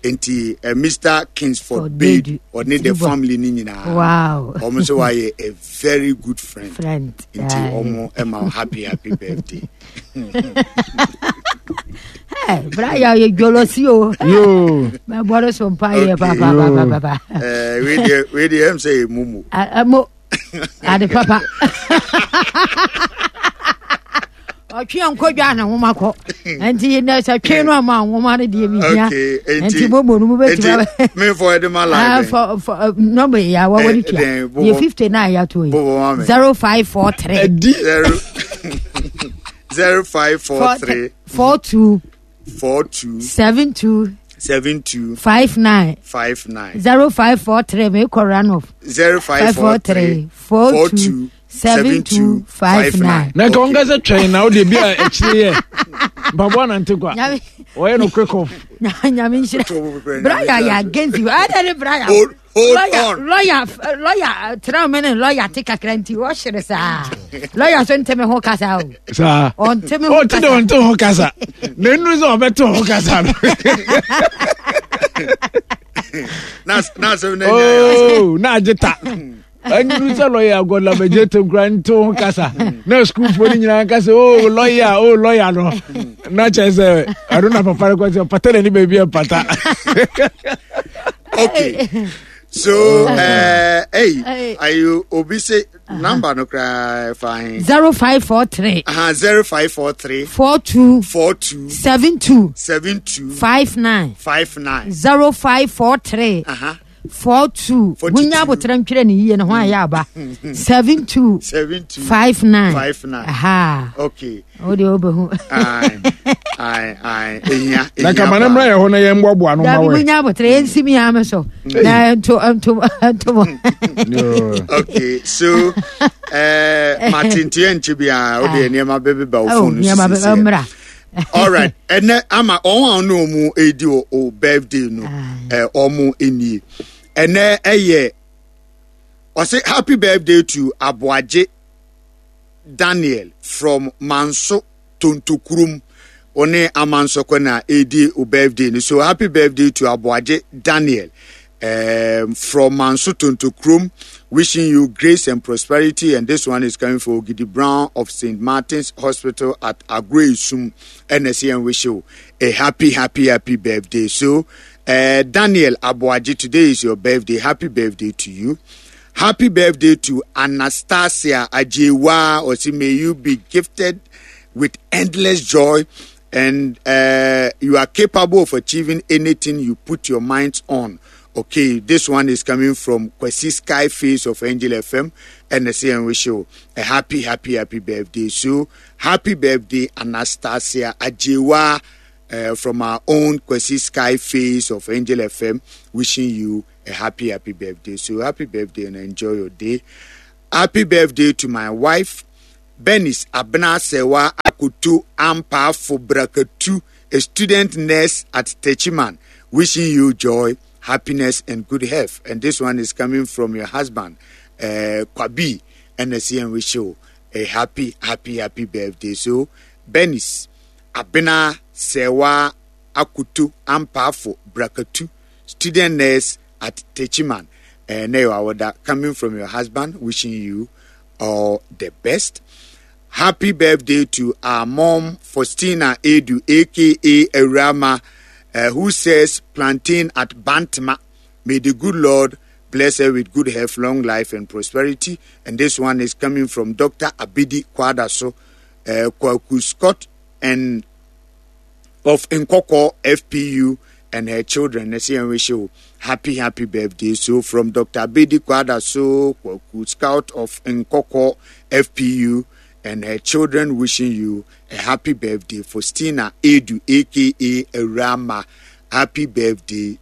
nti uh, mr kingsford bade ɔne the family ni nyinaa wow wɔn nso wayɛ a very good friend, friend. nti wɔn ɛma happy happy birthday. Hey, Brian, you jealousy o. Yo. My brother so mpa ye pa pa pa pa pa. Eh, we dey we dey em say mumu. Mo ade papa. ɔtwe nkɔdwa ne nwoma kɔ nti nɛ sɛ twe no ama nwoma no deɛ mehia nti momo no mobɛtumi memfɔ ɛde ma line nɔmba yi a wɔwɔ ne tua yɛ 59 yɛato yi 0543 0543 42 42 72 72 59 59 0543 mekɔ run off 0543 42 7259 na nka wɔn kasa twɛn na wode bi a akyire yɛ mpaboa nante kwa ɔyɛ no quick off nyame nhyira braya yɛ against you ada ne braya Hold lawyer, on. Lawyer, lawyer, tena me ne lawyer te kakra nti wɔhyere saa. Lawyer so nte me ho kasa o. Saa. Ɔnte me ho kasa. Ɔnte de ɔnte ho kasa. Na enu sɛ ɔbɛte ho kasa no. Na na asɛm na nya. Oh, na agye ta. Ɛnuru sɛ lɔya agɔdlamagye te nkura nte ho kasa. Na sukuufoɔ no nyinaa kasa oh lɔya oh lɔya no. Na kyerɛ sɛ ɛno na papa no kɔ sɛ pata n'ani baabi a pata. Okay. So, uh, hey, are you obi say number no cry fine? 0543. Uh-huh, 0543 42 42 72 72 59 59 0543 uh-huh. 42 munya abotrɛ ntwerɛ ne yie ne ho ayɛ aba 72 59 59 aha okay wo deɛ wobɛhu na kama no mmra yɛ hɔ na yɛmboaboa no ma wɛ munya abotrɛ yɛnsi mi ame so na nto nto nto mo okay so eh matenteɛ nkye biara wo deɛ nneɛma bɛbeba wo phone oh, nneɛma bɛba mmra alright ɛnɛ ama wɔn a ɔne wɔn redi o birthday no ɛ wɔn nie ɛnɛ ɛyɛ ɔsɛ happy birthday to aboagye daniel from manso tontokurom ɔne amansɔkɔ na ɛredi o birthday no so happy birthday to aboagye daniel um, from Manso Tontokrom, wishing you grace and prosperity. And this one is coming for Gidi Brown of St. Martin's Hospital at Agreisum. NSC wish you a happy, happy, happy birthday. So, uh, Daniel Abuaji, today is your birthday. Happy birthday to you. Happy birthday to Anastasia Ajewa. Osi, may you be gifted with endless joy and uh, you are capable of achieving anything you put your minds on. Okay, this one is coming from Kwesi Sky Face of Angel FM and the same wish you a happy, happy, happy birthday. So, happy birthday, Anastasia Ajewa uh, from our own Kwesi Sky Face of Angel FM, wishing you a happy, happy birthday. So, happy birthday and enjoy your day. Happy birthday to my wife, Bernice Abena Sewa Akutu Ampafo Brakatu, a student nurse at Techiman, wishing you joy, happiness, and good health. And this one is coming from your husband, uh, Kwabi, and the wish you a happy, happy, happy birthday. So, Bernice Abena Sewa Akutu Ampafo Brakatu, student nurse at Techiman. Uh, coming from your husband, wishing you all the best. Happy birthday to our mom, Faustina Edu, aka Erama, uh, who says plantain at Bantama. May the good Lord bless her with good health, long life, and prosperity. And this one is coming from Dr. Abidi Kwadaso, uh, Kwaku Scott, and of Nkoko FPU and her children. Let's see and wish you happy, happy birthday. So from Dr. Abidi Kwadaso, Kwaku Scout of Nkoko FPU and her children wishing you a happy birthday. Faustina Edu, aka Rama. Happy birthday to